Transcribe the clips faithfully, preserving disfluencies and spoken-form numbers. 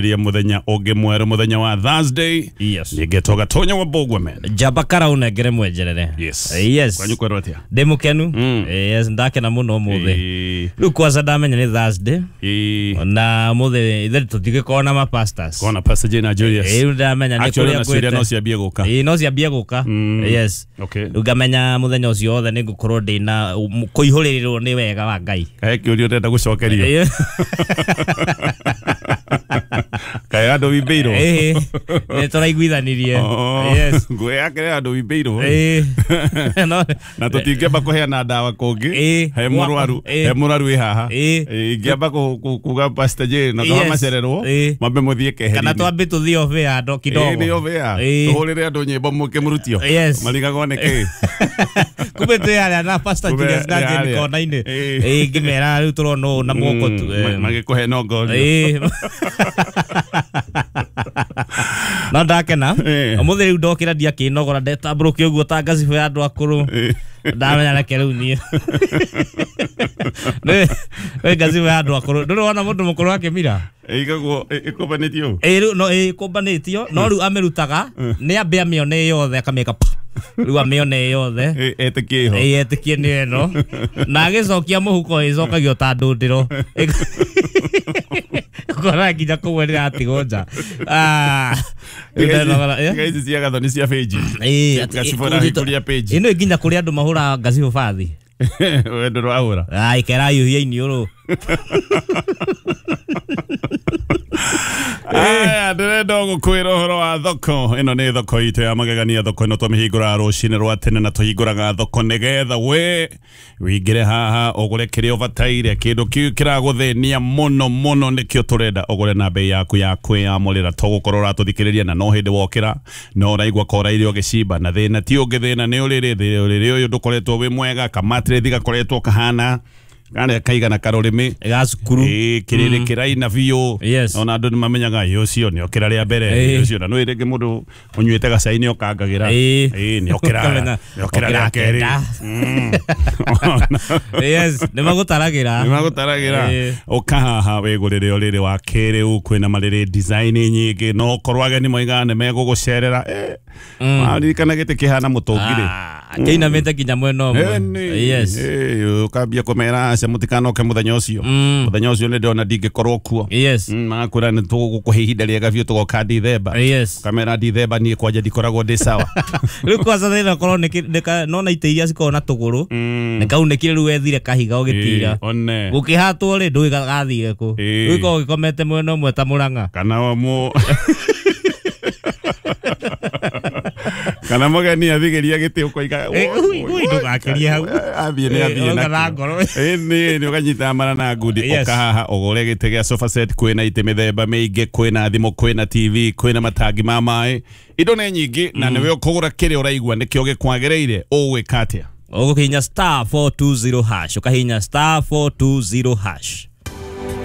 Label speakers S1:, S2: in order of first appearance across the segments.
S1: Ria muthenya ungi mweru muthenya wa Thursday.
S2: Yes.
S1: Nĩngetwo Gatonya wa Bogwe.
S2: Njamba kara unengere mwenjerere.
S1: Yes.
S2: Yes.
S1: Kwanyu kwerwo atia?
S2: Ndĩ mũkenu.
S1: Mm.
S2: Yes, ndakena mũno ũmũthĩ.
S1: Ĩĩ.
S2: Rĩu kwanza ndamenya nĩ Thursday.
S1: Ĩĩ.
S2: Na ũmũthĩ ithe tũtigĩkorwo na ma pastors.
S1: Kona Pastor Jane na Julius.
S2: Ĩĩ, rĩu ndamenya nĩ
S1: Actually
S2: kũrĩa
S1: na ciũria
S2: ngwĩte.
S1: no ciambie gũka.
S2: Ĩĩ, no ciambie gũka.
S1: Mm.
S2: Yes.
S1: Okay.
S2: Rĩu ngamenya mũthenya ũcio wothe nĩ ngũkorwo ndĩna kũihũrĩrĩrwo nĩ wega wa Ngai.
S1: Kae kĩũria ũrenda gũcokerio.
S2: Ĩĩ.
S1: Kae andũ wimbĩirwo.
S2: Ĩĩ. Nĩ tũraiguithanirie.
S1: Oh,
S2: Yes.
S1: Ngũĩ yake nĩ andũ wimbĩirwo.
S2: Ĩĩ. No.
S1: Na tũtingĩamba kũheana ndawa kũngĩ.
S2: Ĩĩ.
S1: He mũrwaru,
S2: Ĩĩ.
S1: he mũrwaru wĩ haha.
S2: Ĩĩ.
S1: Ĩĩ, ingĩamba kũ- kũ- kuga Pastor Jane na
S2: Yes.
S1: yes. macererwo
S2: Ĩĩ.
S1: mambe mũthiĩ keheri-inĩ.
S2: Kana twambe tũthiĩ off air ndo kidogo.
S1: Ĩĩ, nĩ off air.
S2: Ĩĩ.
S1: Tũhũrĩre andũ nyĩmbo mũkĩmũrutio.
S2: Yes.
S1: Marigagwo nĩ kĩ?
S2: Kumbe twĩ harĩa na Pastor
S1: Kumbe
S2: Julius na
S1: nĩ
S2: Jane
S1: harĩa.
S2: kona-inĩ.
S1: Ĩĩ.
S2: Ĩĩ, ngĩmera rĩu tũrona ũũ na moko tu.
S1: Mm, ma- magĩkũhe nongorio.
S2: Ĩĩ. No ndakena.
S1: Ĩĩ.
S2: Ũmũthĩ rĩu ndokĩra ndiakĩnogora ndetambũrũkia ũguo ta ngacibũ ya andũ akũrũ.
S1: Ĩĩ.
S2: Ndamenya reke rĩu niĩ. Nĩ nĩ ngacibũ ya andũ akũrũ. Ndũrĩ wona mũndũ mũkũrũ akĩmira?
S1: Ĩigagwo ĩ- ĩkũmbanĩtio ũũ?
S2: Ĩĩ, rĩu no ĩĩ kũmbanĩtio no rĩu amĩrutaga nĩ ambe amĩone yothe akamĩka pa. Rĩu amĩone yothe.
S1: Ĩ- etĩkie ĩho.
S2: Ĩĩ, etĩkie nĩ ĩno. Na agĩcokia mũhuko ĩcokagio ta ndũndĩro. Ũkora nginya kũu nĩratigwo nja. Ah, rĩu
S1: Tiga ici-
S2: ndenogora, ĩ?
S1: tiga ici cia gathoni cia page.
S2: Ĩĩ, atĩ-
S1: Gacibũ ĩrahingũria page.
S2: Ĩno nginya kũrĩ andũ mahũraga ngacibũ bathi.
S1: We ndũrahũra.
S2: Ah, ikerahiũhia iniũrũ.
S1: Aya, ndĩrenda gũkwĩra ũhoro wa thoko. Ĩno nĩ thoko itũ ya magegania. Thoko ĩno tũmĩhingũraga rũcinĩ rwa tene na tũhingũraga thoko nĩgetha we wĩingĩre haha ũgũre kĩrĩa ũbataire. Kĩndũ kĩu kĩragũthĩnia mũno mũno nĩkĩo tũrenda ũgũre na bei yaku ya kwĩyamũrĩra. Tũgũkorwo ũratũthikĩrĩria na no hĩndĩ wokĩra no ũraigua koraire ũgĩcimba na thĩna ti ũngĩ, thĩna nĩ ũrĩrĩ. Ũrĩrĩ ũyũ ndũkoretwo wĩ mwega, kamatirĩthi gakoretwo kahana karĩa kaigana karũrĩmĩ.
S2: Ga cukuru.
S1: Ĩĩ, kĩrĩrĩ kĩraina biũ.
S2: Yes.
S1: Ona andũ nĩmamenyaga ĩ ũcio nĩokĩra rĩa mbere.
S2: Ĩĩ.
S1: Ĩ ũcio na nĩ rĩngĩ mũndũ ũnyuĩte gacai nĩokangagĩra.
S2: Ĩĩ.
S1: Ĩĩ, nĩokĩra
S2: Ũkamenya,
S1: nĩokĩra
S2: okĩra
S1: rĩa kerĩ.
S2: kenda.
S1: Mm.
S2: Yes, nĩmagũtaragĩra.
S1: Nĩmagũtaragĩra.
S2: Ĩĩ.
S1: Ũka haha wĩgũrĩre ũrĩrĩ wa kĩrĩu, kwĩna marĩrĩ design nyingĩ, no ũkorwo ageni moigaga nĩmegũgũcerera. Eh, waririkana gĩtĩ kĩhana mũtũngi rĩ.
S2: Ah, kĩinamĩte nginya mwena ũmwe.
S1: Ĩni.
S2: Yes.
S1: Ĩĩ, ũkambia kũmera aca mũtikanoke mũthenya ũcio.
S2: Mm.
S1: Mũthenya ũcio nĩndĩrona ndingĩkorwo kuo.
S2: Yes.
S1: Mm, magakwĩra nĩ tũgũkũhe ihinda rĩega biũ tũgoka Dithemba.
S2: Yes.
S1: Kamera Dithemba niĩ kwanja ndikoragwo ndĩ sawa.
S2: Rĩu kwanza thĩna ũkorwo nĩ kĩ- nĩ ka- nona itĩ iria cikoragwo na tũgũrũ.
S1: Mm.
S2: Nĩ kaunĩkire rĩu wethire kahiga ũgĩtira.
S1: Ĩĩ, one.
S2: Gũkĩhatwo rĩ ndũĩ gathire kũ.
S1: Ĩĩ.
S2: Rĩu ĩkoragwo gĩkomete mwena ũmwe ta mũrang'a.
S1: Kana wa mũ kana mũgeni athigĩria gĩtĩ ũkoiga
S2: Ĩ, ui, ui, ndũgakĩrie hau.
S1: Athiĩ nĩ
S2: Ĩ,
S1: athiĩ
S2: ũka
S1: nakĩo.
S2: na ngoro.
S1: Ĩ, nĩ nĩ ũkanyita mara na ngundi.
S2: Yes.
S1: Ũka haha ũgũre gĩtĩ gĩa sofa set, kwĩna itĩ mĩthemba mĩingĩ, kwĩna thimũ, kwĩna T V, kwĩna matangi ma maĩ, indo nĩ nyingĩ na nĩwe ũkũgũra kĩrĩa ũraigua nĩkĩo gĩkwagĩrĩire. Ũgwĩka atĩa?
S2: Ũgũkinya star four two zero hash. Ũkahinya star four two zero hash.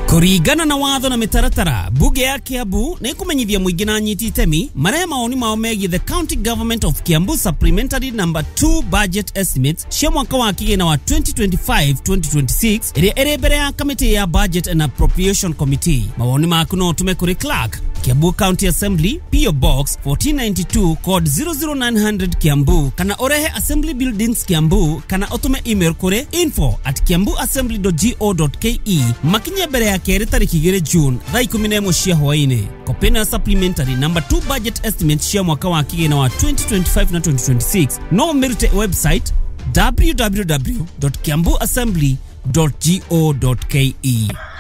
S3: Kũringana na watho na mĩtaratara, bunge ya Kiambu nĩ ĩkũmenyithia mũingĩ na anyiti itemi marehe mawoni mao megiĩ the County Government of Kiambu Supplementary Number two Budget Estimates cia mwaka wa kĩgĩna wa twenty twenty-five twenty twenty-six ĩrĩa ĩrĩ mbere ya kamĩtĩ ya Budget and Appropriation Committee. Mawoni maku no ũtũme kũrĩ Clerk, Kiambu County Assembly, P O Box fourteen ninety-two, code zero zero nine hundred Kiambu, kana ũrehe Assembly Buildings Kiambu, kana ũtũme email kũrĩ info at kiambu assembly dot go dot ke makinye mbere ya kerĩ tarĩki igĩrĩ June thaa ikũmi na ĩmwe cia hwaĩ-inĩ. Kopĩ na supplementary number two budget estimate cia mwaka wa kĩgĩna wa twenty twenty-five na twenty twenty-six no ũmĩrute website w w w dot kiambu assembly dot go dot ke.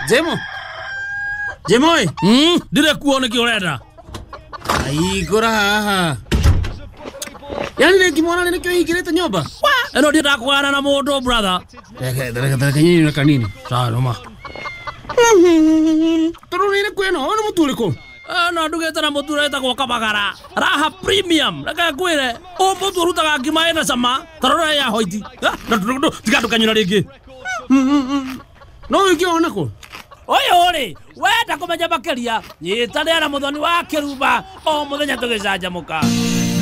S4: Jemo. Jemo ĩ.
S5: Mm, ndire kuo nĩkĩ ũrenda?
S4: Aigũra haha. Yaani rĩngĩ mwana nĩkĩo hingĩrĩte nyũmba?
S5: Wa, ĩno ndiendaga kũgana na mũndũ brother.
S4: Reke, reke, reke nyinyi na kanini.
S5: Sawa, nũma.
S4: Tondũ nĩ ĩrĩkũ ĩno? Ũyũ nĩ mũtu ũrĩkũ?
S5: Ĩno ndugĩte na mũtu ũrĩa wĩtagwo Kabagara. Raha Premium. Reke ngwĩre, ũyũ mũtu ũrutaga ngima ĩna cama, ta rora ya hoiti. Tiga ndũkanyũra rĩngĩ.
S4: No ũngĩona kũ?
S5: Ũyũ rĩ, wenda kũmenya makĩria, nyitanĩra na Mũthoni wa Kĩrumba o mũthenya tũgĩcanjamũka.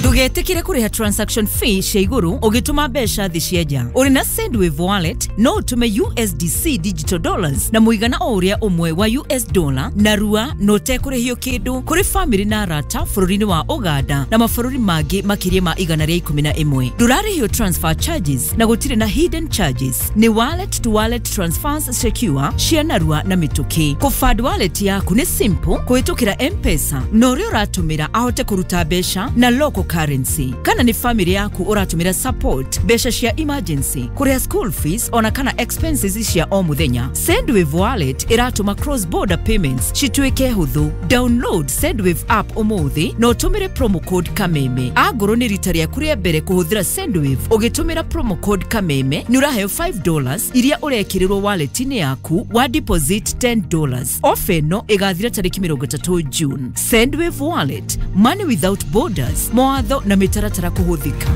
S6: Ndũgetĩkĩre kũrĩha transaction fee cia igũrũ ũgĩtũma mbeca thĩ cia nja. Ũrĩ na Sendwave wallet no ũtũme U S D C digital dollars na mũigana o ũrĩa ũmwe wa U S dollar na rua na ũtekũrĩhio kĩndũ kũrĩ famĩlĩ na arata bũrũri-inĩ wa Uganda na mabũrũri mangĩ makĩria ma igana rĩa ikũmi na ĩmwe. Ndũrarĩhio transfer charges na gũtirĩ na hidden charges. Nĩ wallet to wallet transfers secure cia narua na mĩtũkĩ. Kũfund wallet yaku nĩ simple kũhĩtũkĩra M-Pesa na ũrĩa ũratũmĩra ahote kũruta mbeca na local currency. Kana nĩ family yaku ũratũmĩra support mbeca cia emergency, kũrĩha school fees ona kana expenses cia o mũthenya. Sendwave wallet ĩratũma cross border payments cituĩke hũthũ. Download Sendwave app ũmũthĩ na ũtũmĩre promo code Kameme. Angorwo nĩ rita rĩaku rĩa mbere kũhũthĩra Sendwave ũgĩtũmĩra promo code Kameme nĩ ũraheo five dollars iria ũrekĩrĩrwo wallet-inĩ yaku wa deposit ten dollars. Ofa ĩno ĩgathira tarĩki mĩrongo ĩtatũ June. Sendwave wallet, money without borders. Mawatho na mĩtaratara kũhũthĩka.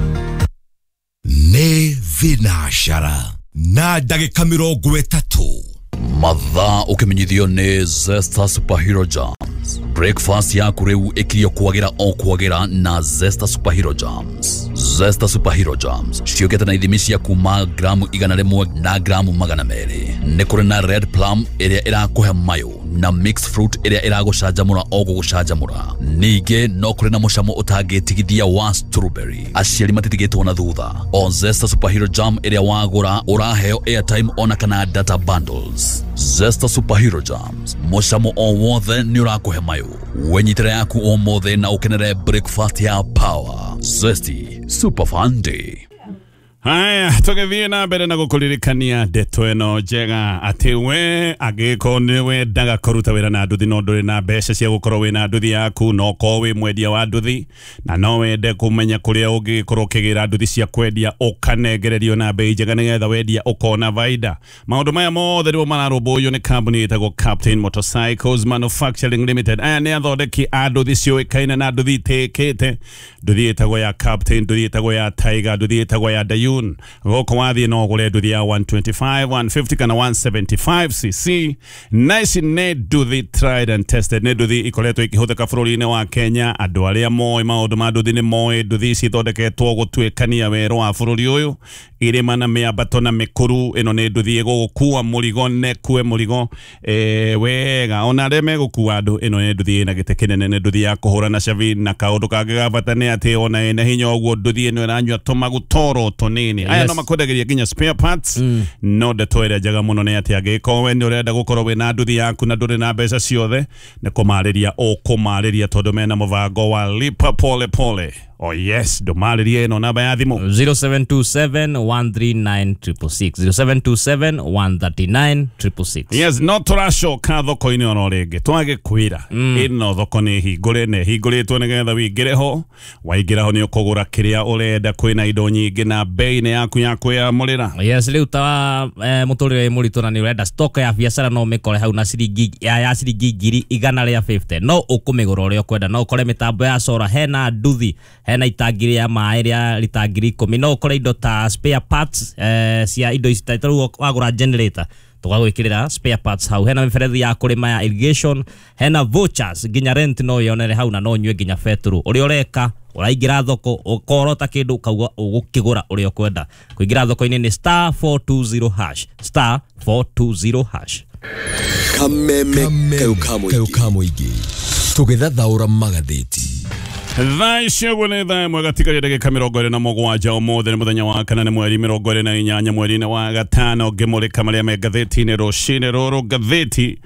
S7: Nĩ thinacara na ndagĩka mĩrongo ĩtatũ.
S8: Mathaa ũkĩmenyithio nĩ Zesta Superhero Jams. Breakfast yaku rĩu ĩkirio kwagĩra o kwagĩra na Zesta Superhero Jams. Zesta Superhero Jams ciũkĩte na ithimi cia kuma gramu igana rĩmwe na gramu magana merĩ. Nĩ kũrĩ na red plum ĩrĩa ĩrakũhe mayo na mixed fruit ĩrĩa ĩragũcanjamũra o gũgũcanjamũra. Ningĩ no kũrĩ na mũcamo ũtangĩtigithia wa strawberry. Aciari matitigĩtwo na thutha. O Zesta Superhero Jam ĩrĩa wagũra ũraheo airtime ona kana data bundles. Zesta Superhero Jams, mũcamo o wothe nĩ ũrakũhe mayo. Wenyitĩra yaku ũmũthĩ na ũkenere breakfast ya power. Zesty Super Fun Day.
S1: Haya, tũgĩthiĩ na mbere na gũkũririkania ndeto ĩno njega atĩ we angĩkorwo nĩ wendaga kũruta wĩra na nduthi no ndũrĩ na mbeca cia gũkorwo wĩna nduthi yaku, no ũkorwo wĩ mwendia wa nduthi na no wende kũmenya kũrĩa ũngĩkorwo ũkĩgĩra nduthi cia kwendia ũkanengererio na bei njega nĩgetha wendia ũkona baida. Maũndũ maya mothe nĩmo mararũmbũiyo nĩ kambuni ĩtagwo Captain Motorcycles Manufacturing Limited. Aya nĩ athondeki a nduthi ciũĩkaine na nduthi itĩkĩte. Nduthi ĩtagwo ya Captain, nduthi ĩtagwo ya Tiger, nduthi ĩtagwo ya Dayun. Gũkũ wathiĩ no ũgũre nduthi ya one twenty-five, one fifty kana one seventy-five c c. Na ici nĩ nduthi tried and tested, nĩ nduthi ikoretwo ikĩhũthĩka bũrũri-inĩ wa Kenya. Andũ arĩa moĩ maũndũ ma nduthi nĩ moĩ nduthi ici ithondeketwo gũtuĩkania werũ wa bũrũri ũyũ, irĩma na mĩambato na mĩkuru. Ĩno nĩ nduthi ĩgũgũkua mũrigo nekue mũrigo eh, wega ona arĩa megũkua andũ. Ĩno nĩ nduthi ĩna gĩtĩ kĩnene, nĩ nduthi ya kũhũra na cabi, na kaũndũ kangĩ ga bata nĩ atĩ ona ĩna hinya ũguo nduthi ĩno ĩranyua tũmaguta oro tũnini. Aya no makwendagĩria nginya spare parts. No ndeto ĩrĩa njega mũno nĩ atĩ angĩkorwo we nĩ ũrenda gũkorwo wĩna nduthi yaku na ndũrĩ na mbeca ciothe, nĩ kũmarĩria ũkũmarĩria tondũ mena mũbango wa lipa pole pole. Oh yes, ndũmarĩrie ĩno namba ya thimũ
S2: zero seven two seven one three nine triple six, zero seven two seven one three nine triple six.
S1: Yes, no tũracoka thoko-inĩ oro rĩngĩ twagĩkwĩra ĩno thoko nĩ hingũre na ĩhingũrĩtwo nĩgetha wĩingĩre ho. Waingĩra ho nĩ ũkũgũra kĩrĩa ũrenda, kwĩna indo nyingĩ na bei nĩ yaku ya kwĩyamũrĩra.
S2: Yes, rĩu ta eh, mũtũrĩre mũritũ na nĩ ũrenda stock ya biacara no ũmĩkore hau na ciringi ya, ya ciringi ngiri igana rĩa fifty. No ũkũmĩgũra ũrĩa ũkwenda, no ũkore mĩtambo ya solar, hena nduthi, hena itangi rĩa maĩ rĩa lita ngiri ikũmi, no ũkore indo ta spare parts eh, cia indo ici ta rĩu wagũra generator tũgagwĩkĩrĩra spare parts hau, hena mĩberethi ya kũrĩma ya irrigation, hena vouchers nginya rent no yonere hau na no nyue nginya betũrũ. Ũrĩa ũreka ũraingĩra thoko ũkorota kĩndũ ũkauga ũgũkĩgũra ũrĩa ũkwenda. Kũingĩra thoko-inĩ nĩ star four two zero hash, star four two zero hash.
S7: Kameme kayo ka mũingĩ tũgĩthathaũra magathĩti.
S1: Thaa ici ũguo nĩ thaa ĩmwe gatigaria ndagĩka mĩrongo ĩrĩ na mũgwanja. Ũmũthĩ nĩ mũthenya wa kana, nĩ mweri mĩrongo ĩrĩ na inyanya mweri-inĩ wa gatano. Ngĩmũrĩka marĩa me ngathĩti-inĩ rũcinĩ rũrũ. Ngathĩti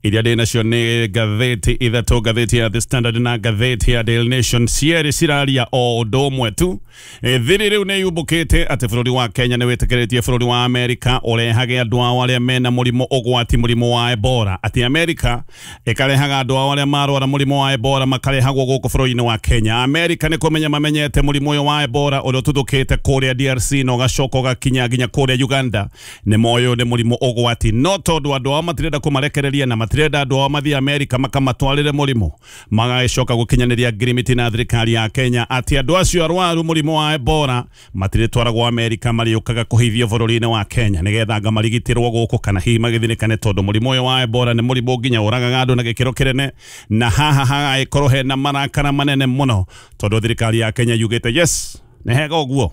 S1: iria ndĩ nacio nĩ ngathĩti ithatũ, ngathĩti ya The Standard na ngathĩti ya Daily Nation. Cierĩ ciraria o ũndũ ũmwe tu. Thiri rĩu nĩ yumbũkĩte atĩ bũrũri wa Kenya nĩ wĩtĩkĩrĩtie bũrũri wa Amerika ũrehage andũ ao arĩa mena mũrimũ ũgwati, mũrimũ wa Ebola. Atĩ Amerika ĩkarehaga andũ ao arĩa marwara mũrimũ wa Ebola makarehagwo gũkũ bũrũri-inĩ wa Kenya. Amerika nĩ kũmenya mamenyete mũrimũ ũyũ wa Ebola ũrĩa ũtuthũkĩte kũrĩa D R C na ũgacoka ũgakinya nginya kũrĩa Uganda. Nĩ moĩ ũyũ nĩ mũrimũ ũgwati, no tondũ andũ ao matirenda kũmarekereria na Matirenda andũ ao mathiĩ Amerika makamatwarĩre mũrimũ. Magagĩcoka gũkinyanĩria ngirimiti na thirikari ya Kenya atĩ andũ acio arwaru mũrimũ wa Ebola matirĩtwaragwo Amerika, marĩũkaga kũhithio bũrũri-inĩ wa Kenya nĩgetha anga marigitĩrwo gũkũ kana hihi magĩthirĩkane, tondũ mũrimũ ũyũ wa Ebola nĩ mũrimũ nginya ũragaga andũ na gĩkĩro kĩnene, na haha hagagĩkorwo hena marakara manene mũno tondũ thirikari ya Kenya yugĩte yes, nĩ hega ũguo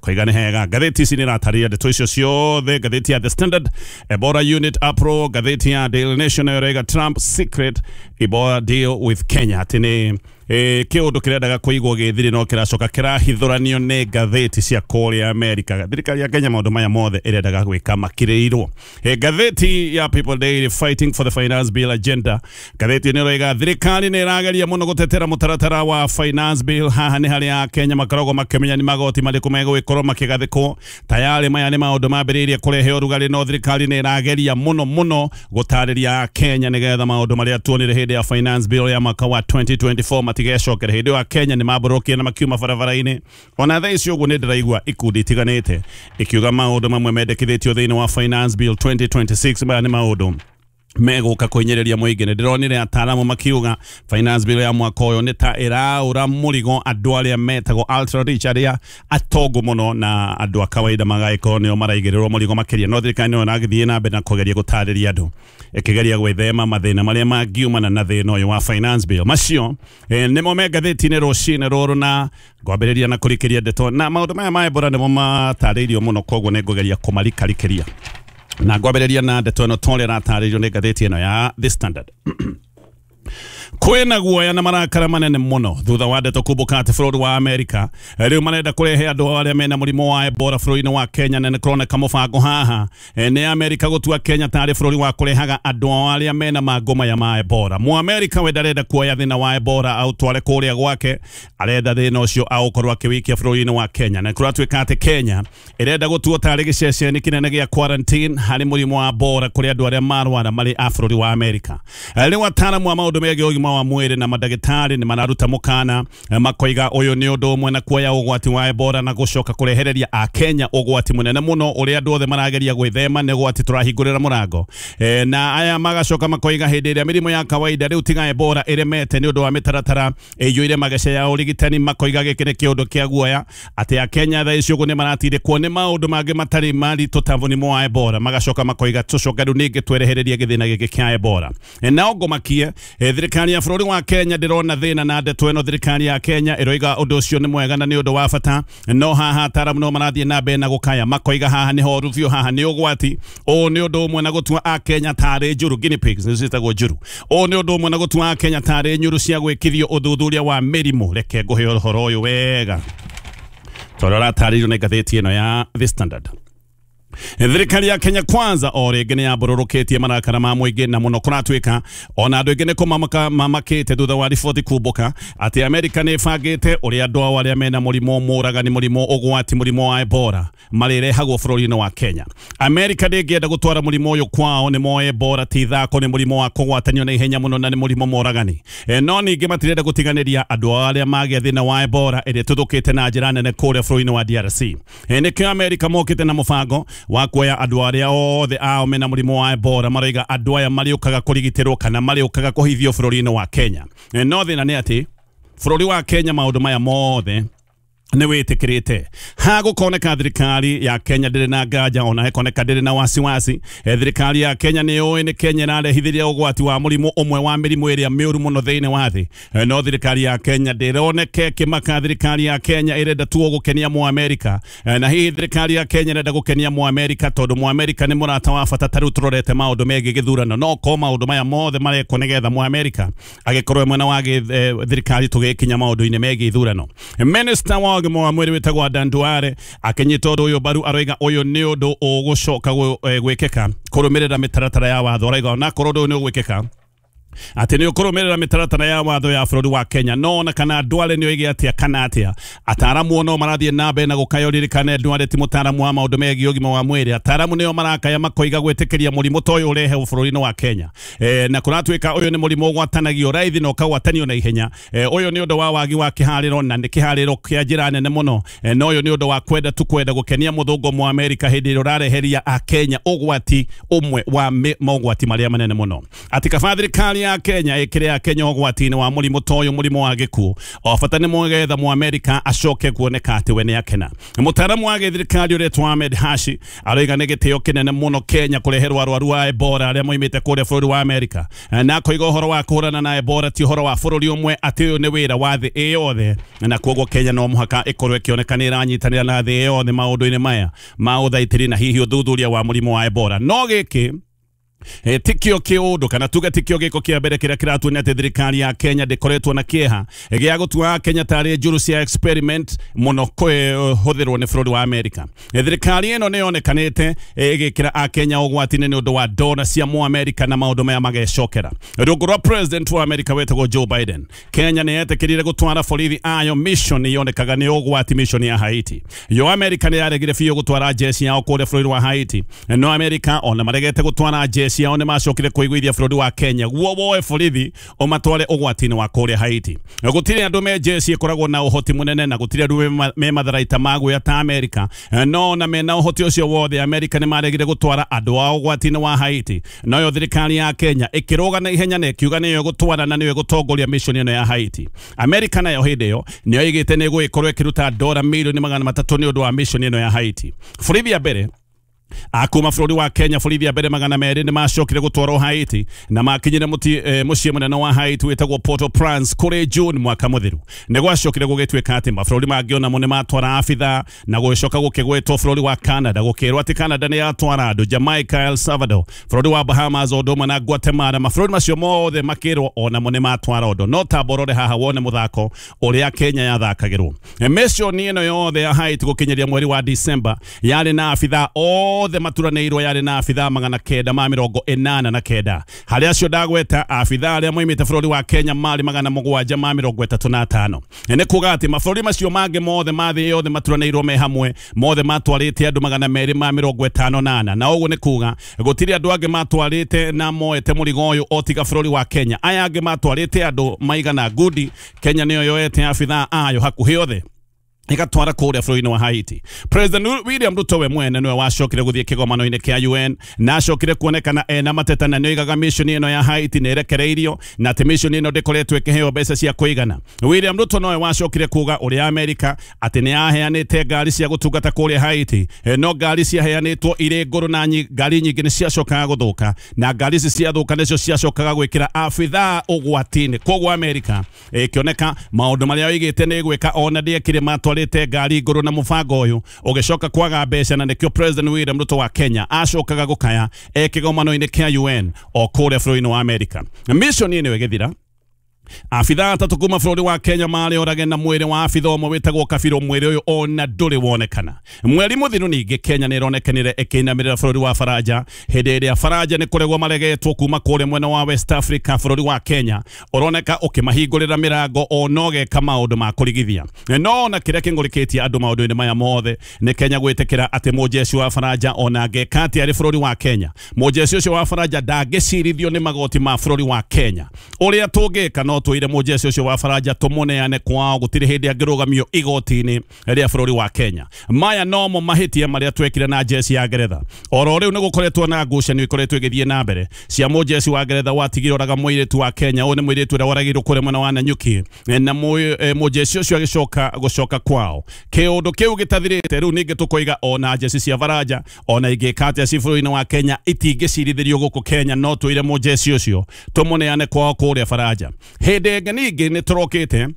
S1: koiga nĩ hega. Ngathĩti ici nĩ iratarĩria ndeto icio ciothe. Ngathĩti ya The Standard, Ebola unit apro. Ngathĩti ya Daily Nation nayo ĩrauga Trump secret Ebola deal with Kenya, atĩ nĩ eh, kĩũndũ kĩrendaga kũigwo gĩthiri no kĩracoka kĩrahithũranio nĩ ngathĩti cia kũrĩa Amerika. Thirikari ya Kenya maũndũ maya mothe ĩrendaga gwĩka makirĩirwo. Eh, ngathĩti ya People Daily, fighting for the finance bill agenda. Ngathĩti nĩ ĩroiga thirikari nĩ ĩrageria mũno gũtetera mũtaratara wa finance bill. Haha nĩ harĩa Kenya makoragwo makĩmenya nĩ magoti marĩkũ megũgĩkorwo makĩgathĩkwo. Tayarĩ maya nĩ maũndũ mambĩrĩirie kũrehe ũrugarĩ, no thirikari nĩ ĩrageria mũno mũno gũtarĩria Kenya nĩgetha maũndũ marĩa tuonire hĩndĩ ya finance bill ya mwaka wa twenty twenty-four matigecokere. Hĩndĩ ĩyo Kenya nĩ mambũrũkire na makiuma barabara-inĩ. Ona thaa ici ũguo nĩ ndĩraigua ikundi itiganĩte ikiuga maũndũ mamwe mendekithĩtio thĩinĩ wa finance bill twenty twenty-six maya nĩ maũndũ megũka kũhinyĩrĩria mũingĩ. Nĩ ndĩronire ataaramu makiuga finance bill ya mwaka ũyũ nĩ ta ĩraũra mũrigo andũ arĩa metagwo ultra rich, arĩa atongu mũno, na andũ a kawaida magagĩkorwo nĩo maraigĩrĩrwo mũrigo makĩria. No thirikari nĩyo ĩragĩthiĩ na mbere na kũgeria gũtarĩria andũ, ĩkĩgeria gwĩthema mathĩna marĩa mangiumana na thĩna ũyũ wa finance bill. Macio eh, nĩmo me ngathĩti-inĩ rũcinĩ rũrũ, na ngwambĩrĩria na kũrikĩria ndeto na maũndũ maya ma Ebola nĩmo matarĩirio mũno, koguo nĩ ngũgeria kũmarikarikĩria na ngwambĩrĩria na ndeto ĩno torĩa ĩratarĩirio nĩ ngathĩti ĩno ya The Standard. Kwĩna guoya na marakara manene mũno thutha wa ndeto kumbũka atĩ bũrũri wa Amerika rĩu marenda kũrehe andũ arĩa mena mũrimũ wa Ebola bũrũri-inĩ wa Kenya, na nĩ kũroneka mũbango haha nĩ Amerika gũtua Kenya tarĩ bũrũri wa kũrehaga andũ arĩa mena mangũ maya ma Ebola. Mũamerika we ndarenda kuoya thĩna wa Ebola aũtware kũrĩa gwake, arenda thĩna ũcio aũkorwo akĩwikia bũrũri-inĩ wa Kenya, na kũratuĩka atĩ Kenya ĩrenda gũtuo tarĩ gĩceceni kĩnene gĩa quarantine harĩ mũrimũ wa Ebola kũrĩ andũ arĩa marwara marĩ a bũrũri wa Amerika. Rĩu ataaramu a maũndũ megiĩ ũgima wa mwĩrĩ na mandagĩtarĩ nĩ mararuta mũkana makoiga ũyũ nĩ ũndũ ũmwe na kuoya ũgwati wa Ebola na gũcoka kũrehereria akenya ũgwati mũnene mũno ũrĩa andũ othe marageria gwĩthema, nĩ ũgwati tũrahingũrĩra mũrango. E, na aya magacoka makoiga hĩndĩ ĩrĩa mĩrimũ ya kawaida rĩu tiga Ebola ĩremete nĩ ũndũ wa mĩtaratara ĩiyũire mageca ya ũrigitani, makoiga gĩkĩ nĩ kĩũndũ kĩa guoya atĩ akenya thaa ici ũguo nĩ maratindĩkwo nĩ maũndũ mangĩ matarĩ maritũ ta mũrimũ wa Ebola. Magacoka makoiga tũcoke rĩu ningĩ twerehererie gĩthĩna gĩkĩ kĩa Ebola. E, nao ngũmakie e, thirikari ya bũrũri wa Kenya ndĩrona thĩna na ndeto ĩno. Thirikari ya Kenya ĩroiga ũndũ ũcio nĩ mwega na nĩ ũndũ wa bata, no haha ataaramu no marathiĩ na mbere na gũkaya makoiga haha nĩ horu biũ, haha nĩ ũgwati. Ũũ nĩ ũndũ ũmwe na gũtua akenya tarĩ njũru, guinea pigs nĩ ciĩtagwo njũru. Ũũ nĩ ũndũ ũmwe na gũtua akenya tarĩ nyũru cia gwĩkithio ũthuthuria wa mĩrimũ. Reke ngũhe ũhoro ũyũ wega tondũ ũratarĩirio nĩ ngathĩti ĩno ya The Standard. Thirikari ya Kenya Kwanza o rĩngĩ nĩ yambũrũrũkĩtie marakara ma mũingĩ na mũno kũratuĩka ona andũ aingĩ nĩ kũmamaka mamakĩte thutha wa riboti kumbũka atĩ Amerika nĩ ĩbangĩte ũrĩa andũ ao arĩa mena mũrimũ mũragani, mũrimũ ũgwati, mũrimũ wa Ebola marĩrehagwo bũrũri-inĩ wa Kenya. Amerika ndĩngĩenda gũtwara mũrimũ ũyũ kwao, nĩ moĩ Ebola ti ithako, nĩ mũrimũ wa kũgwatanio na ihenya mũno na nĩ mũrimũ mũragani. E, no ningĩ matirenda gũtiganĩria andũ ao arĩa magĩa thĩna wa Ebola ĩrĩa ĩtuthũkĩte na njĩra nene kũrĩa bũrũri-inĩ wa D R C. E, nĩkĩo Amerika mokĩte na mũbango wa kuoya andũ arĩa othe ao mena mũrimũ wa Ebola, maroiga andũ aya marĩũkaga kũrigitĩrwo kana marĩũkaga kũhithio bũrũri-inĩ wa Kenya. E, no thĩna nĩ atĩ bũrũri wa Kenya maũndũ maya mothe nĩ wĩtĩkĩrĩte. Hagũkoneka thirikari ya Kenya ndĩrĩ na nganja ona hekoneka ndĩrĩ na wasiwasi. E, thirikari ya Kenya nĩ yũĩ nĩ Kenya ĩrarehithĩria ũgwati wa mũrimũ ũmwe wa mĩrimũ ĩrĩa mĩũru mũno thĩinĩ wa thĩ. E, no thirikari ya Kenya ndĩroneke kĩmaka. Thirikari ya Kenya ĩrenda tu gũkenia Mũamerika. E, na hihi thirikari ya Kenya ĩrenda gũkenia Mũamerika tondũ Mũamerika nĩ mũrata wa bata. Ta rĩu tũrorete maũndũ megiĩ gĩthurano, no ko maũndũ maya mothe marekwo nĩgetha Mũamerika agĩkorwo mwena wa thirikari tũgĩkinya maũndũ-inĩ megiĩ ithurano. Minister wa ũgima wa mwĩrĩ wĩtagwo Adan Duale akĩnyita ũndũ ũyũ mbaru, aroiga ũyũ nĩ ũndũ ũgũcoka gwĩkĩka kũrũmĩrĩra mĩtaratara ya watho. Aroiga onakorwo ũndũ ũyũ nĩ ũgwĩkĩka Atĩ nĩ ũkũrũmĩrĩra mĩtaratara ya watho ya bũrũri wa Kenya no ona kana Duale nĩ oige atĩa kana atĩa ataramu no marathiĩ na mbere na gũkaya. Ririkane Duale ti mũtaramu wa maũndũ megiĩ ũgima wa mwĩrĩ, ataramu nĩo marakaya makoiga gwĩtĩkĩria mũrimũ ta ũyũ ũrehe bũrũri-inĩ wa Kenya. E, na kũratuĩka ũyũ nĩ mũrimũ ũgwatanagio raithi na ũkagwatanio na ihenya. E, ũyũ nĩ ũndũ wa wagi wa kĩharĩro na nĩ kĩharĩro kĩa njĩra nene mũno. E, na ũyũ nĩ ũndũ wa kwenda tu kwenda gũkenia mũthũngũ mwa Amerika hĩndĩ ĩrĩa ũrareheria a Kenya ũgwati ũmwe wa mogwati marĩa manene mũno. Atĩ kaba thirikari ya Kenya ĩkĩre ya Kenya ũgwati-inĩ wa mũrimũ ta ũyũ, mũrimũ wa gĩkuũ, o bata nĩ mwgetha mu Amerika acoke kuoneka atĩ we nĩ akena. Mũtaaramu wa gĩthirikari ũretwo Ahmed Hashi aroiga nĩ gĩtĩo kĩnene mũno Kenya kũreherwo arwaru wa Ebola arĩa moimĩte kũrĩa bũrũri wa Amerika, na akoiga ũhoro wa kũhũrana na Ebola ti ũhoro wa bũrũri ũmwe, atĩ ũyũ nĩ wĩra wa thĩ ĩ yothe, na koguo Kenya no mũhaka ĩkorwo ĩkĩoneka nĩ ĩranyitanĩra na thĩ yothe maũndũ-inĩ maya ma ũthaitĩri na hihi ũthuthuria wa mũrimũ wa Ebola. No gĩkĩ E, tikio kiundu kana tuge tikio giko kia mbere kiria kiratuonia ati thirikari ya Kenya ndikoretwo na kieha gĩa gũtua Kenya tarĩ njũru cia experiment mũno kũhũthĩrwo nĩ bũrũri wa Amerika. E, thirikari ĩno nĩ yonekanĩte ĩgĩkĩra a Kenya ũgwati-inĩ nĩ ũndũ wa dola cia mu Amerika na maũndũ maya magecokera. Rungu rwa president wa Amerika wetagwo Joe Biden, Kenya nĩ yetĩkĩrire gũtwara borithi ayo mission yonekaga nĩ ũgwati, mission ya Haiti. Yo Amerika nĩ yaregire biũ gũtwara jeshi yao kũrĩa bũrũri wa Haiti, no Amerika ona maregete gũtwara jeshi yao nĩ macokire kũiguithia bũrũri wa Kenya guo woe borithi ũmatware ũgwati-inĩ wa kũrĩa Haiti. Gũtirĩ andũ me jeshi ĩkoragwo na ũhoti mũnene na gũtirĩ andũ me matharaita ma guoya ta Amerika, no na mena ũhoti ũcio wothe Amerika nĩ maregire gũtwara andũ ao ũgwati-inĩ wa Haiti. Nayo thirikari ya Kenya ĩkĩrũga na ihenya na ĩkiuga nĩyo ĩgũtwara na nĩyo ĩgũtongoria mission ĩno ya Haiti. Amerika nayo hĩndĩ ĩyo nĩyo ĩgĩte nĩ ĩgũgĩkorwo ĩkĩruta dola milioni magana matatũ nĩ ũndũ wa mission ĩno ya Haiti. Borithi ya mbere akuma bũrũri wa Kenya, borithi ya mbere magana merĩ nĩ macokire gũtwarwo Haiti na makinyire e, mũciĩ mũnene wa Haiti wĩtagwo Port-au-Prince kũrĩ June mwaka mũthiru. Nĩ gwacokire gũgĩtuĩka atĩ mabũrũri mangĩ onamo nĩ matwara abitha na gũgĩcoka gũkĩgwetwo bũrũri wa Canada, gũkĩrwo atĩ Canada nĩ yatwara andũ, Jamaica, El Salvador, bũrũri wa Bahamas o ũndũ ũmwe na Guatemala, mabũrũri macio mothe makĩrwo onamo nĩ matwara ũndũ. No tamba ũrore haha wone mũthako ũrĩa Kenya yathakagĩrwo. Mission ĩno yothe ya Haiti gũkinyĩria mweri wa December yarĩ na abitha othe maturanĩirwo, yarĩ na abitha magana kenda ma mĩrongo ĩnana na kenda. Harĩ acio ndagweta abitha arĩa moimĩte bũrũri wa Kenya marĩ magana mũgwanja ma mĩrongo ĩtatũ na atano. Nĩ kuga atĩ mabũrũri macio mangĩ mothe ma thĩ yothe maturanĩirwo me hamwe mothe matwarĩte andũ magana merĩ ma mĩrongo ĩtano na ana, na ũguo nĩ kuga gũtirĩ andũ angĩ matwarĩte na moete mũrigo ũyũ o tiga bũrũri wa Kenya. Aya angĩ matwarĩte andũ maigana ngudi, Kenya nĩyo yoete abitha ayo hakuhĩ othe igatwara kũrĩa bũrũri-inĩ wa Haiti. President William Ruto we mwene nĩwe wacokire gũthiĩ kĩgomano-inĩ kĩa U N na acokire kuonekana ena mateta na nĩoigaga mission ĩno ya Haiti nĩ ĩrekereirio na atĩ mission ĩno ndĩkoretwo ĩkĩheo mbeca cia kũigana. William Ruto nowe wacokire kuga ũrĩa Amerika atĩ nĩ yaheanĩte ngari cia gũtungata kũrĩa Haiti, no ngari ciaheanĩtwo irĩ ngũrũ na ngari nyingĩ nĩ ciacokaga gũthũka, na ngari ici ciathũka nĩcio ciacokaga gwĩkĩra abithaa ũgwati-inĩ. Koguo Amerika ĩkĩoneka maũndũ marĩa oigĩte nĩ ĩgwĩka ona ndĩekire, matwarĩte ngari ngũrũ na mũbango ũyũ ũgĩcoka kwaga mbeca, na nĩkĩo President William Ruto wa Kenya acokaga gũkaya e kĩgomano-inĩ kĩa U N o kũrĩa bũrũri-inĩ wa Amerika. Mission ĩno ĩgĩthira, abitha atatũ kuma bũrũri wa Kenya marĩ orage na mwĩrĩ wa abitha ũmwe wĩtagwo Kabirũ, mwĩrĩ ũyũ ona ndũrĩ wonekana. Mweri mũthiru ningĩ Kenya nĩ ĩronekanire ĩkĩinamĩrĩra bũrũri wa Faranja hĩndĩ ĩrĩa Faranja nĩ kũregwo maregetwo kuma kũrĩa mwena wa West Africa. Bũrũri wa Kenya ũroneka ũkĩmahingũrĩra mĩrango ona ũgeka maũndũ ma kũrigithia. No ona kĩrĩa kĩng'ũrĩkĩtie andũ maũndũ-inĩ maya mothe nĩ Kenya gwĩtĩkĩra atĩ mũjeshi wa Faranja ona angĩka atĩa arĩ bũrũri wa Kenya, mũjeshi ũcio wa Faranja ndangĩcirithio nĩ magoti ma bũrũri wa Kenya. Ũrĩa tũngĩka no twire mũjeshi ũcio wa Faranja tũmũneane kwao, gũtirĩ hĩndĩ angĩrũgamio igoti-inĩ rĩa bũrũri wa Kenya. Maya nomo mahĩtia marĩa twekire na jeshi ya Ngeretha. Oro rĩu nĩ gũkoretwo na ngucanio ikoretwo ĩgĩthiĩ na mbere cia mũjeshi wa Ngeretha watigire oraga mũirĩtu wa Kenya. Ũyũ nĩ mũirĩtu ũrĩa woragirwo kũrĩa mwena wa Nanyuki na mũjeshi ũcio agĩcoka gũcoka kwao. Kĩũndũ kĩu gĩtathirĩte rĩu ningĩ tũkoiga ona jeshi cia Faranja ona ingĩka atĩa ci bũrũri-inĩ wa Kenya itingĩcirithĩrio gũkũ Kenya, no twĩre mũjeshi ũcio tũmũneane kwao kũrĩa Faranja. Hĩndĩ ĩngĩ ningĩ nĩ tũrokĩte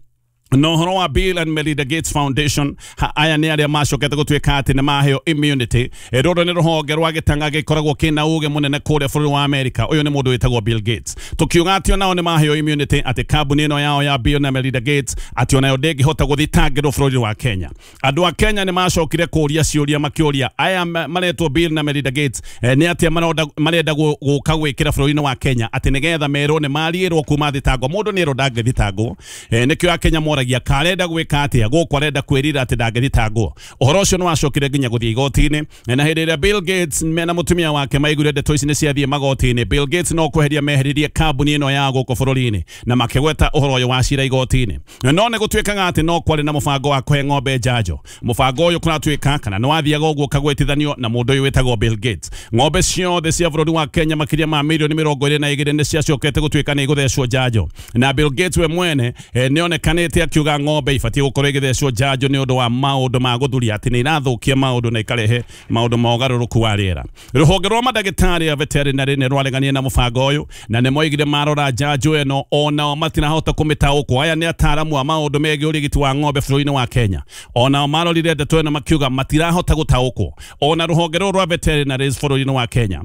S1: No horo wa Bill and Melinda Gates Foundation ha, aya nĩ arĩa macokete gũtuĩka atĩ nĩ maheo immunity. Rũrũ nĩ rũhonge rwa gĩtanga gĩkoragwo kĩna ũgĩ mũnene kũrĩa bũrũri wa America. Ũyũ nĩ mũndũ wĩtagwo Bill Gates. Tũkiuga atĩ onao nĩ maheo immunity, atĩ kambuni ĩno yao ya Bill na Melinda Gates atĩ onayo ndĩngĩhota gũthitangĩrwo bũrũri wa Kenya. Andũ a Kenya nĩ macokire kũria ciũria makĩũria aya maretwo Bill na Melinda Gates nĩ atĩa marenda gũka gwĩkĩra bũrũri-inĩ wa Kenya atĩ nĩgetha merwo nĩ mariĩrwo kuma thitango. Mũndũ nĩ erwo ndangĩthitangwo, nĩkĩo akenya moragia karenda gwĩka atĩa gũkũ arenda kwĩrira atĩ ndangĩthitangwo. Ũhoro ũcio nĩ wacokire nginya gũthiĩ igoti-inĩ, na hĩndĩ ĩrĩa Bill Gates mena mũtumia wake maiguire ndeto ici nĩ ciathiĩ magoti-inĩ, Bill Gates no kweheria meheririe kambuni ĩno ya gũkũ bũrũri-inĩ na makĩgweta ũhoro ũyũ wa cira igoti-inĩ. No nĩ gũtuĩkaga atĩ no kwarĩ na mũbango wa kũhe ng'ombe njanjo. Mũbango ũyũ kũratuĩka kana nĩ wathiaga ũguo ũkagwetithanio na mũndũ ũyũ wĩtagwo Bill Gates. Ng'ombe ciothe cia bũrũri wa Kenya makĩria ma mirioni mĩrongo ĩrĩ na igĩrĩ nĩ ciacokete gũtuĩka nĩ igũthecwo njanjo, na Bill Gates we mwene nĩ onekanĩte akiuga ng'ombe ibatiĩ gũkorwo ĩgĩthecwo njanjo nĩ ũndũ wa maũndũ ma gũthuria atĩ nĩ irathũkia maũndũ na ikarehe maũndũ ma ũgarũrũku wa rĩera. Rũhonge rwa mandagĩtarĩ a veterinary nĩ rwareganie na mũbango ũyũ na nĩ moigire marora njanjo ĩno onao matirahota kũmĩtaũkwo. Aya nĩ ataaramu a maũndũ megiĩ ũrigiti wa ng'ombe bũrũri-inĩ wa Kenya. Onao marorire ndeto ĩno makiuga matirahota gũtaũkwo. Ona rũhonge rũrũ rwa veterinaries bũrũri-inĩ wa Kenya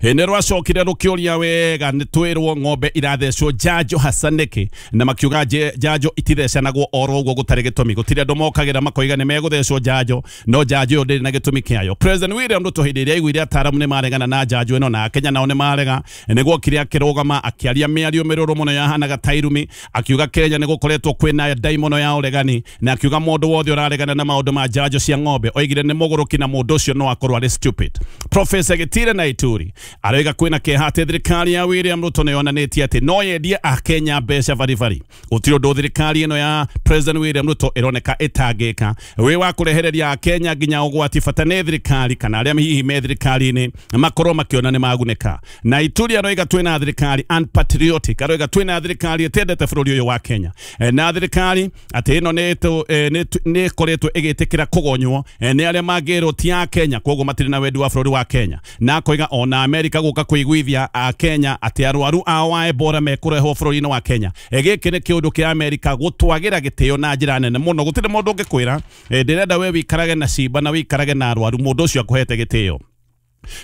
S1: nĩ rwacokire rũkĩũria wega nĩ twĩrwo ng'ombe irathecwo njanjo hasa nĩkĩ, na makiuga njanjo itithecanagwo oro ũguo gũtarĩ gĩtũmi. Gũtirĩ andũ mokagĩra makoiga nĩ megũthecwo njanjo, no njanjo ĩyo ndĩrĩ na gĩtũmi kĩayo. President William Ruto hĩndĩ ĩrĩa aiguire ataaramu nĩ maregana na njanjo ĩno na Akenya nao nĩ marega, nĩguo okire akĩrũgama akĩaria mĩario mĩrũrũ mũno yahanaga ta irumi, akiuga Kenya nĩ gũkoretwo kwĩna ndaimono ya ũregani, na akiuga mũndũ wothe ũraregana na maũndũ ma njanjo cia ng'ombe oigire nĩ mũgũrũki na mũndũ ũcio no akorwo arĩ stupid. Professor Gitire na Ituri aroiga kwĩna kĩeha atĩ thirikari ya William Ruto nĩ yonanĩtie atĩ no yendie akenya mbeca baribari. Gũtirĩ ũndũ thirikari ĩno ya President William Ruto ĩroneka ĩtangĩka wĩ wa kũrehereria akenya nginya ũgwati, bata nĩ thirikari kana arĩa hihi me thirikari-inĩ makorwo makĩona nĩ magunĩka. Na Ituri aroiga twĩna thirikari unpatriotic, aroiga twĩna thirikari ĩtendete bũrũri ũyũ wa Kenya, na thirikari atĩ ĩno nĩ ĩkoretwo ĩgĩtĩkĩra kũgonywo nĩ arĩa mangĩrwo ti a Kenya, koguo matirĩ na wendi wa bũrũri wa Kenya. Na akoiga ona Amerika gũka kũiguithia a Kenya atĩ arwaru ao wa Ebola mekũrehwo bũrũri-inĩ wa Kenya. Gĩkĩ nĩ kĩũndũ kĩa Amerika gũtwagĩra gĩtĩo na njĩra nene mũno. Gũtirĩ mũndũ ũngĩkwĩra ndĩrenda we wĩikarage na cimba na wĩikarage na arwaru, mũndũ ũcio akũhete gĩtĩo.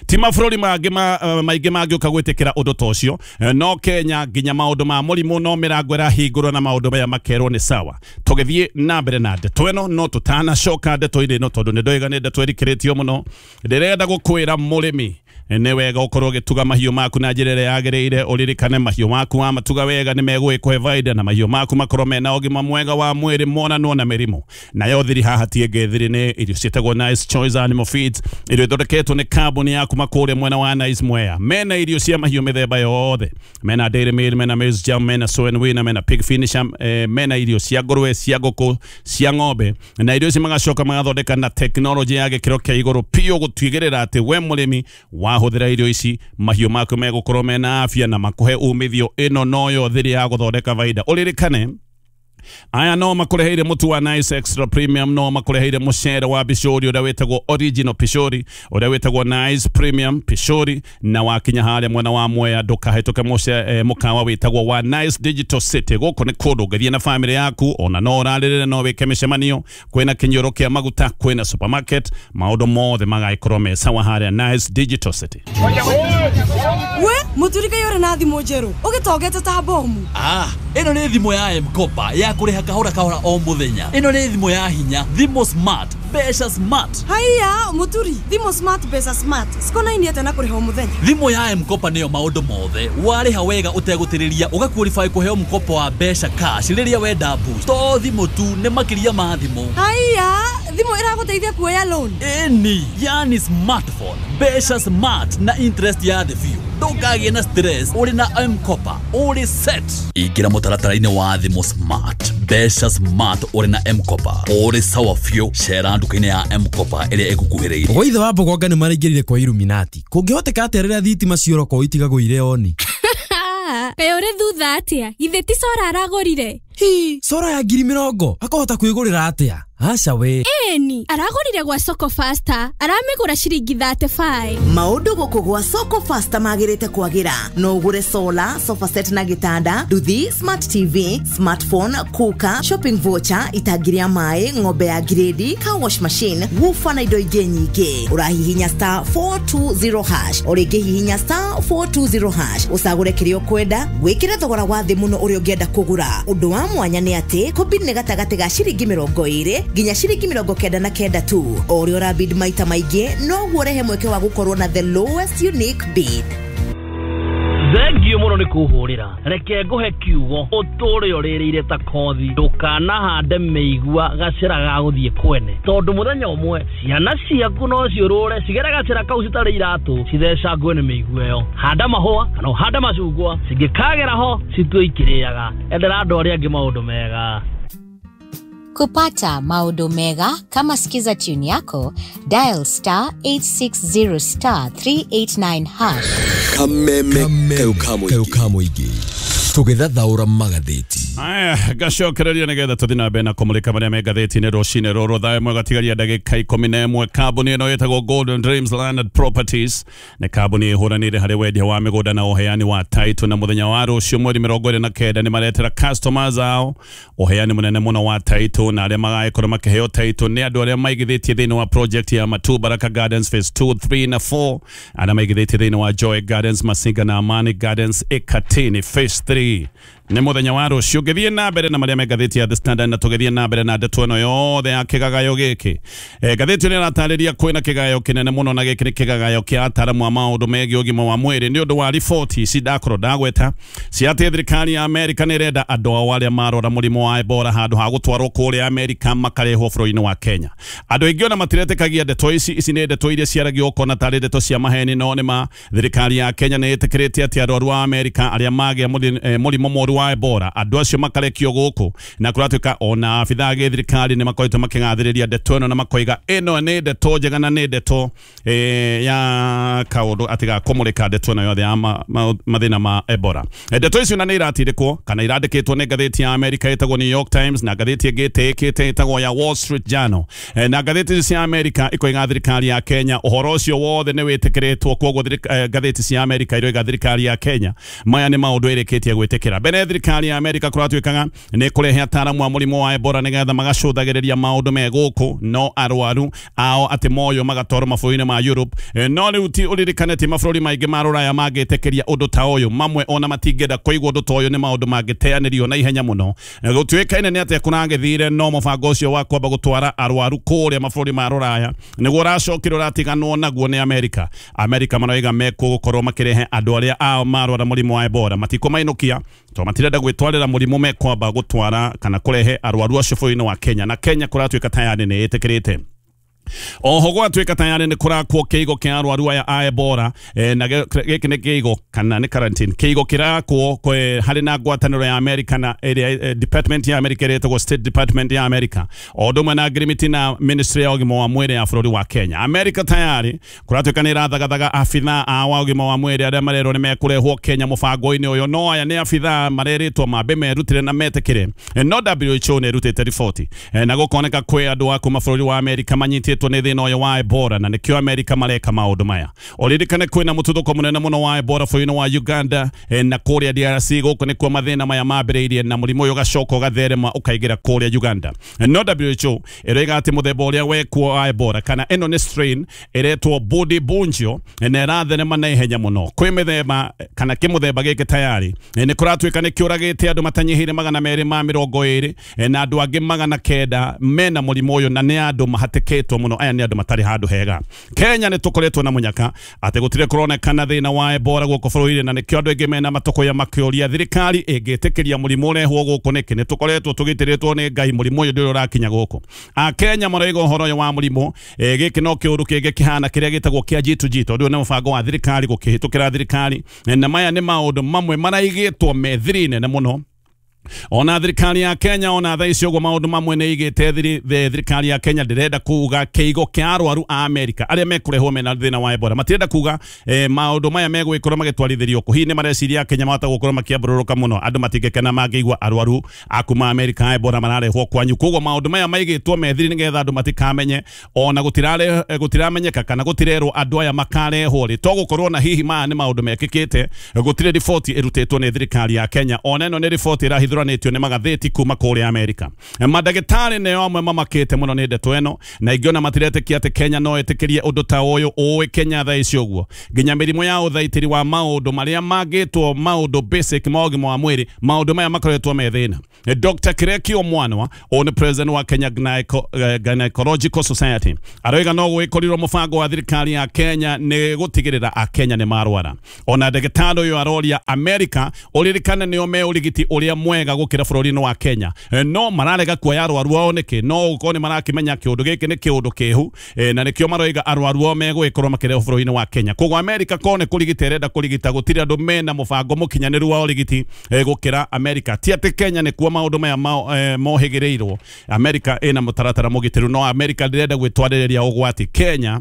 S1: Ti mabũrũri mangĩ maingĩ mangĩũka gwĩtĩkĩra ũndũ ta ũcio, no Kenya nginya maũndũ ma mũrimũ no mĩrango ĩrahingũrwo na maũndũ maya makerwo nĩ sawa. Tũgĩthiĩ na mbere na ndeto ĩno, no tũtanacoka ndeto-inĩ ĩno tondũ nĩ ndoiga nĩ ndeto ĩrikĩrĩtio mũno. Ndĩrenda gũkwĩra mũrĩmi nĩ wega ũkorwo ũgĩtuga mahiũ maku na njĩra ĩrĩa yagĩrĩire. Ũririkane mahiũ maku wamatuga wega nĩ megũgĩkũhe baida, na mahiũ maku makorwo mena ũgima mwega wa mwĩrĩ monanwo na mĩrimũ. Nayo thiri haha ti ĩngĩ, thiri nĩ irio ciĩtagwo Nice Choice Animal Feeds, irio ithondeketwo nĩ kambuni ya kuma kũrĩa mwena wa Nice Mwea. Mena irio cia mahiũ mĩthemba yothe, mena dairy meal, mena maize jam, mena soy and winner, mena pig finisher, mena irio cia ngũrwe, cia ngũkũ, cia ng'ombe, na irio ici magacoka magathondeka na tekinoronjĩ ya gĩkĩro kĩa igũrũ biũ gũtigĩrĩra atĩ we mũrĩmi wahũthĩra irio ici mahiũ maku megũkorwo mena afya na makũhe umithio. Ĩno noyo thiri ya gũthondeka baida. Ũririkane aya no makũreheire mũtu wa Nice Extra Premium, no makũreheire mũcere wa pishori ũrĩa wĩtagwo Original Pishori, ũrĩa wĩtagwo Nice Premium Pishori, na wakinya harĩa mwena wa Mwea ndũkahĩtũke mũce mũkawa wĩtagwo wa Nice Digital City. Gũkũ nĩ kũndũ ũngĩthiĩ na famĩlĩ yaku, ona no ũrarĩrĩre, no wĩke mĩcemanio, kwĩna kĩnyũrũ kĩa maguta, kwĩna supermarket, maũndũ mothe magagĩkorwo me sawa harĩa Nice Digital City.
S9: We mũturi kaĩ ũrĩ na thimũ njerũ ũgĩtongete ta bomu?
S8: Ah, ĩno nĩ thimũ ya M-Kopa ya kũrĩha kahora kahora o mũthenya. Ĩno nĩ thimũ ya hinya, thimũ smart, mbeca smart.
S9: Haiya mũturi, thimũ smart, mbeca smart cikonainie atĩa na kũrĩha o mũthenya?
S8: Thimũ ya M-Kopa nĩyo maũndũ mothe. Warĩha wega ũtegũtĩrĩria ũgaqualify kũheo mkopo wa mbeca cash rĩrĩa wenda boost. To thimũ tu, nĩ makĩria ma thimũ.
S9: Haiya, thimũ ĩragũteithia kuoya loan?
S8: Ĩni, yani smartphone, mbeca smart na interest ya thĩ biũ. Ndũkagĩe na stress, ũrĩ na M-Kopa, ũrĩ set. Ingĩra mũtaratara-inĩ wa thimũ smart, mbeca smart ũrĩ na M-Kopa, ũrĩ sawa biũ. Cera nduka-inĩ ya M-Kopa ĩrĩa ĩgũkuhĩrĩirie.
S10: Gwa ithe wa Mbogonga nĩ maraingĩrire kwa Illuminati. Kũngĩhoteka atĩa rĩrĩa thitima ciora kwao itigagũire oni?
S11: Kaĩ ũrĩ thutha atĩa? Githĩ ti cora aragũrire?
S10: Hi, sora ya ngiri mĩrongo akahota kwĩgũrĩra atĩa? Aca we.
S11: Eni, aragũrire gwa Soko Faster, aramĩgũra ciringi thirty-five.
S12: Maũndũ gũkũ gwa Soko Faster magĩrĩte kwagĩra. No ũgũre solar, sofa set na gĩtanda, nduthi, smart T V, smartphone, cooker, shopping voucher, itangi rĩa maĩ, ng'ombe ya grade, car wash machine, woofer na indo ingĩ nyingĩ. Ũrahihinya star four two zero hash, o rĩngĩ hihinya star four two zero hash, ũcagũre kĩrĩa ũkwenda, wĩkĩre thogora wa thĩ mũno ũrĩa ũngĩenda kũgũra. Ũndũ wa mwanya nĩ atĩ kũbid nĩ gatagatĩ ga ciringi mĩrongo ĩrĩ nginya ciringi mĩrongo kenda na kenda tu. O ũrĩa ũrabid maita maingĩ noguo ũrehe mweke wa gũkorwo na the lowest unique bid.
S5: Thengio mũno nĩ kũhũrĩra. Reke ngũhe kiugo ũtũre ũrĩrĩire ta kothi, ndũkanahande mĩigua gacĩra ga gũthiĩ kwene, tondũ mũthenya ũmwe ciana ciaku no ciũrũre cigere gacĩra kau citarĩ iratũ cithecangwe nĩ mĩigua ĩyo. Handa mahũa kana ũhande macungwa, cingĩkagera ho citue ikĩrĩaga. Endera andũ arĩa angĩ maũndũ mega.
S13: Kupata maũndũ mega kama Skiza tune yako, dial star eight six zero star three eight nine hash.
S7: Kameme kayo kamuigi tũgĩthathaũra magathĩti.
S1: Aya, ngacokereria nĩgetha tũthiĩ na mbere na kũmũrĩka marĩa me ngathĩti-inĩ rũcinĩ rũrũ thaa ĩmwe gatigaria ndagĩka ikũmi na ĩmwe. Kambuni ĩno ĩtagwo Golden Dreams Landed Properties nĩ kambuni ĩhũranĩire harĩ wendia wa mĩgũnda na ũheani wa title, na mũthenya wa rũciũ mweri mĩrongo ĩrĩ na kenda nĩ maretera customers ao ũheani mũnene mũno wa title, na arĩa magagĩkorwo makĩheo title nĩ andũ arĩa maigithĩtie thĩinĩ wa project ya Matu Baraka Gardens phase two, three na four, arĩa maigithĩtie thĩinĩ wa Joy Gardens, Masinga na Amani Gardens Ikatini phase three. Nĩ mũthenya wa rũciũ. Ngĩthiĩ na mbere na marĩa me ngathĩti ya The Standard, na tũgĩthiĩ na mbere na ndeto ĩno yothe ya kĩgagayo gĩkĩ. E, ngathĩti ĩno ĩratarĩria kwĩna kĩgagayo kĩnene mũno, na gĩkĩ nĩ kĩgagayo kĩa ataramu a maũndũ megiĩ ũgima wa mwĩrĩ nĩ ũndũ wa riboti ici ndakorwo ndagweta cia atĩ thirikari ya Amerika nĩ ĩrenda andũ ao arĩa marora mũrimũ wa Ebola handũ ha gũtwarwo kũrĩa Amerika makarehwo bũrũri-inĩ wa Kenya. Andũ aingĩ ona matiretĩkagia ndeto ici, ici nĩ ndeto iria ciaragio ũkona tarĩ ndeto cia maheni, no nĩ ma thirikari ya Kenya nĩ ĩtĩkĩrĩte atĩ arwaru a Amerika arĩa magĩa mũrimũ mũru wa Ebola andũ acio makarekio gũkũ, na kũratuĩka ona abithaa a gĩthirikari nĩ makoretwo makĩgathĩrĩria ndeto ĩno na makoiga ĩno nĩ ndeto njega na nĩ ndeto eh, ya kaũndũ atĩ ga kũmũrĩka ndeto ĩno yothe ya ma, ma, mathĩna ma Ebola. Ndeto icio na nĩ iratindĩkwo kana irandĩkĩtwo nĩ ngathĩti ya Amerika ĩtagwo New York Times na ngathĩti ĩngĩ ĩtĩĩkĩte ĩtagwo ya Wall Street Journal. E, na ngathĩti icio cia Amerika ikoiga thirikari ya Kenya ũhoro ũcio wothe nĩ wĩtĩkĩrĩtwo, kwoguo ngathĩti cia Amerika iroiga thirikari ya Kenya maya nĩ maũndũ ĩrĩkĩtie gwĩtĩkĩra. Mbere thirikari ya Amerika kũratuĩkaga nĩ kũrehe ataramu a mũrimũ wa Ebola nĩgetha magacũthagĩrĩria maũndũ me gũkũ, no arwaru ao atĩ moyo magatwarwo mabũrũri-inĩ ma Europe. E, no rĩu ti ũririkane ti mabũrũri maingĩ ma rũraya mangĩtĩkĩria ũndũ ta ũyũ, mamwe ona matingĩenda kũigua ũndũ ta ũyũ, nĩ maũndũ mangĩteanĩrio na ihenya mũno. E, gũtuĩkaine nĩ atĩa kũragĩthire, no mũbango ũcio wa kwamba gũtwara arwaru kũrĩa mabũrũri ma rũraya nĩguo ũracokire ũratiganwo naguo nĩ Amerika. Amerika maroiga mekũgũkorwo makĩrehe andũ arĩa ao marwara mũrimũ wa Ebola matikũmainũkia to matirenda gwĩtwarĩra mũrimũ, mekwamba gũtwara kana kũrehe arwaru acio bũrũri-inĩ wa Kenya, na Kenya kũratuĩka tayarĩ nĩ ĩtĩkĩrĩte. Oho gwatuĩka tayarĩ nĩ kũrakwo kĩigo kĩa arwaru aya a Ebola, e, na gĩkĩ nĩ kĩigo kana nĩ quarantine kĩigo kĩrakwo harĩ na ngwatanĩro ya Amerika na ĩrĩa e, department ya Amerika ĩrĩa ĩtagwo State Department ya Amerika o ũndũ ũmwe na ngirimiti na Ministry ya ũgima wa mwĩrĩ ya bũrũri wa Kenya. Amerika tayarĩ kũratuĩka nĩ ĩrathagathaga abithaa a wa ũgima wa mwĩrĩ arĩa marerwo nĩ mekũrehwo Kenya mũbango-inĩ ũyũ, no aya nĩ abithaa marerĩtwo mambe merutĩre na metĩkĩre. E, no W H O nĩ ĩrutĩte riboti e, na gũkoneka kwĩ andũ a kuma bũrũri wa Amerika manyitĩtwo nĩ thĩna ũyũ wa Ebola, na nĩkĩo Amerika mareka maũndũ maya. Ũririkane kwĩna mũtuthũko mũnene mũno wa Ebola bũrũri-inĩ wa Uganda e, na kũrĩa D R C gũkũ nĩkuo mathĩna maya mambĩrĩirie, na mũrimũ ũyũ ũgacoka ũgatherema ũkaingĩra kũrĩa Uganda. No W H O ĩroiga atĩ mũthemba ũrĩa wekuo wa Ebola kana ĩno nĩ strain ĩretwo Bundibugyo na ĩratherema na ihenya mũno. Kwĩ mĩthemba kana kĩmũthemba gĩkĩ tayarĩ nĩ kũratuĩka nĩ kĩũragĩte andũ matanyihĩire magana merĩ ma mĩrongo ĩrĩ na andũ angĩ magana kenda mena mũrimũ ũyũ, na nĩ andũ mahatĩkĩtwo mũno. Aya nĩ andũ matarĩ handũ hega. Kenya nĩ tũkoretwo na mũnyaka atĩ gũtirĩ kũronekana thĩna wa Ebola gũkũ bũrũri-inĩ, na nĩkĩo andũ aingĩ mena matũkũya makĩũria thirikari ĩngĩtĩkĩria mũrimũ ũrehwo gũkũ nĩkĩ. Nĩ tũkoretwo tũgitĩrĩtwo nĩ Ngai, mũrimũ ũyũ ndũrĩ ũrakinya gũkũ. Akenya maroiga ũhoro ũyũ wa mũrimũ e, gĩkĩ no kĩũndũ kĩngĩ kĩhana kĩrĩa gĩtagwo kĩa G two G, tondũ nĩ mũbango wa thirikari gũkĩhĩtũkĩra thirikari, na maya nĩ maũndũ mamwe maraigĩtwo me thiri nene mũno Ona thirikari ya Kenya ona thaa ici ũguo maũndũ mamwe nĩ igĩte thirikari ya Kenya ndĩrenda kuga kĩigo kĩa arwaru a Amerika arĩa mekũrehwo mena thĩna wa Ebola matirenda kuga eh, maũndũ maya megũgĩkorwo magĩtwarithĩrio kũ. Hihi nĩ mareciria Kenya mahota gũkorwo makĩambũrũrũka mũno, andũ matingĩkena mangĩigua arwaru a kuma Amerika a Ebola mararehwo kwanyu. Koguo maũndũ maya maigĩtwo methiri nĩgetha andũ matikamenye, ona gũtirare gũtiramenyeka kana gũtirerwo andũ aya makarehwo rĩ, to gũkorwo na hihi maya nĩ maũndũ mekĩkĩte. Gũtirĩ riboti ĩrutĩtwo nĩ thirikari ya Kenya, ona ĩno nĩ riboti ĩrahithũranĩtio nĩ magathĩti kuma kũrĩa Amerika. Mandagĩtarĩ nĩo amwe mamakĩte mũno nĩ ndeto ĩno, na ingĩ ona matiretĩkia atĩ Kenya no ĩtĩkĩrie ũndũ ta ũyũ ũĩ Kenya thaa ici ũguo nginya mĩrimũ ya ũthaitĩri wa maũndũ marĩa mangĩtwo maũndũ basic ma ũgima wa mwĩrĩ, maũndũ maya makoretwo me thĩna. Doctor Kirekio Mwanwa ũyũ nĩ president wa Kenya Gynecological Society aroiga no gwĩkorirwo mũbango wa thirikari ya Kenya nĩ gũtigĩrĩra akenya nĩ marwara. Ona ndagĩtarĩ ũyũ aroria Amerika ũririkane nĩo me ũrigiti ũrĩa mwega gũkĩra bũrũri-inĩ wa Kenya, no mararega kuoya arwaru ao nĩkĩ? No gũkorwo nĩ marakĩmenya kĩũndũ gĩkĩ nĩ kĩũndũ kĩhu, na nĩkĩo maroiga arwaru ao megũgĩkorwo makĩrehwo bũrũri-inĩ wa Kenya. Koguo Amerika korwo nĩ kũrigita ĩrenda kũrigita, gũtirĩ andũ mena mũbango mũkinyanĩru wa ũrigiti gũkĩra Amerika. Ti atĩ Kenya nĩkuo maũndũ maya mohĩgĩrĩirwo, Amerika ĩna mũtaratara mũgitĩru, no Amerika ndĩrenda gwĩtwarĩrĩria ũgwati. Kenya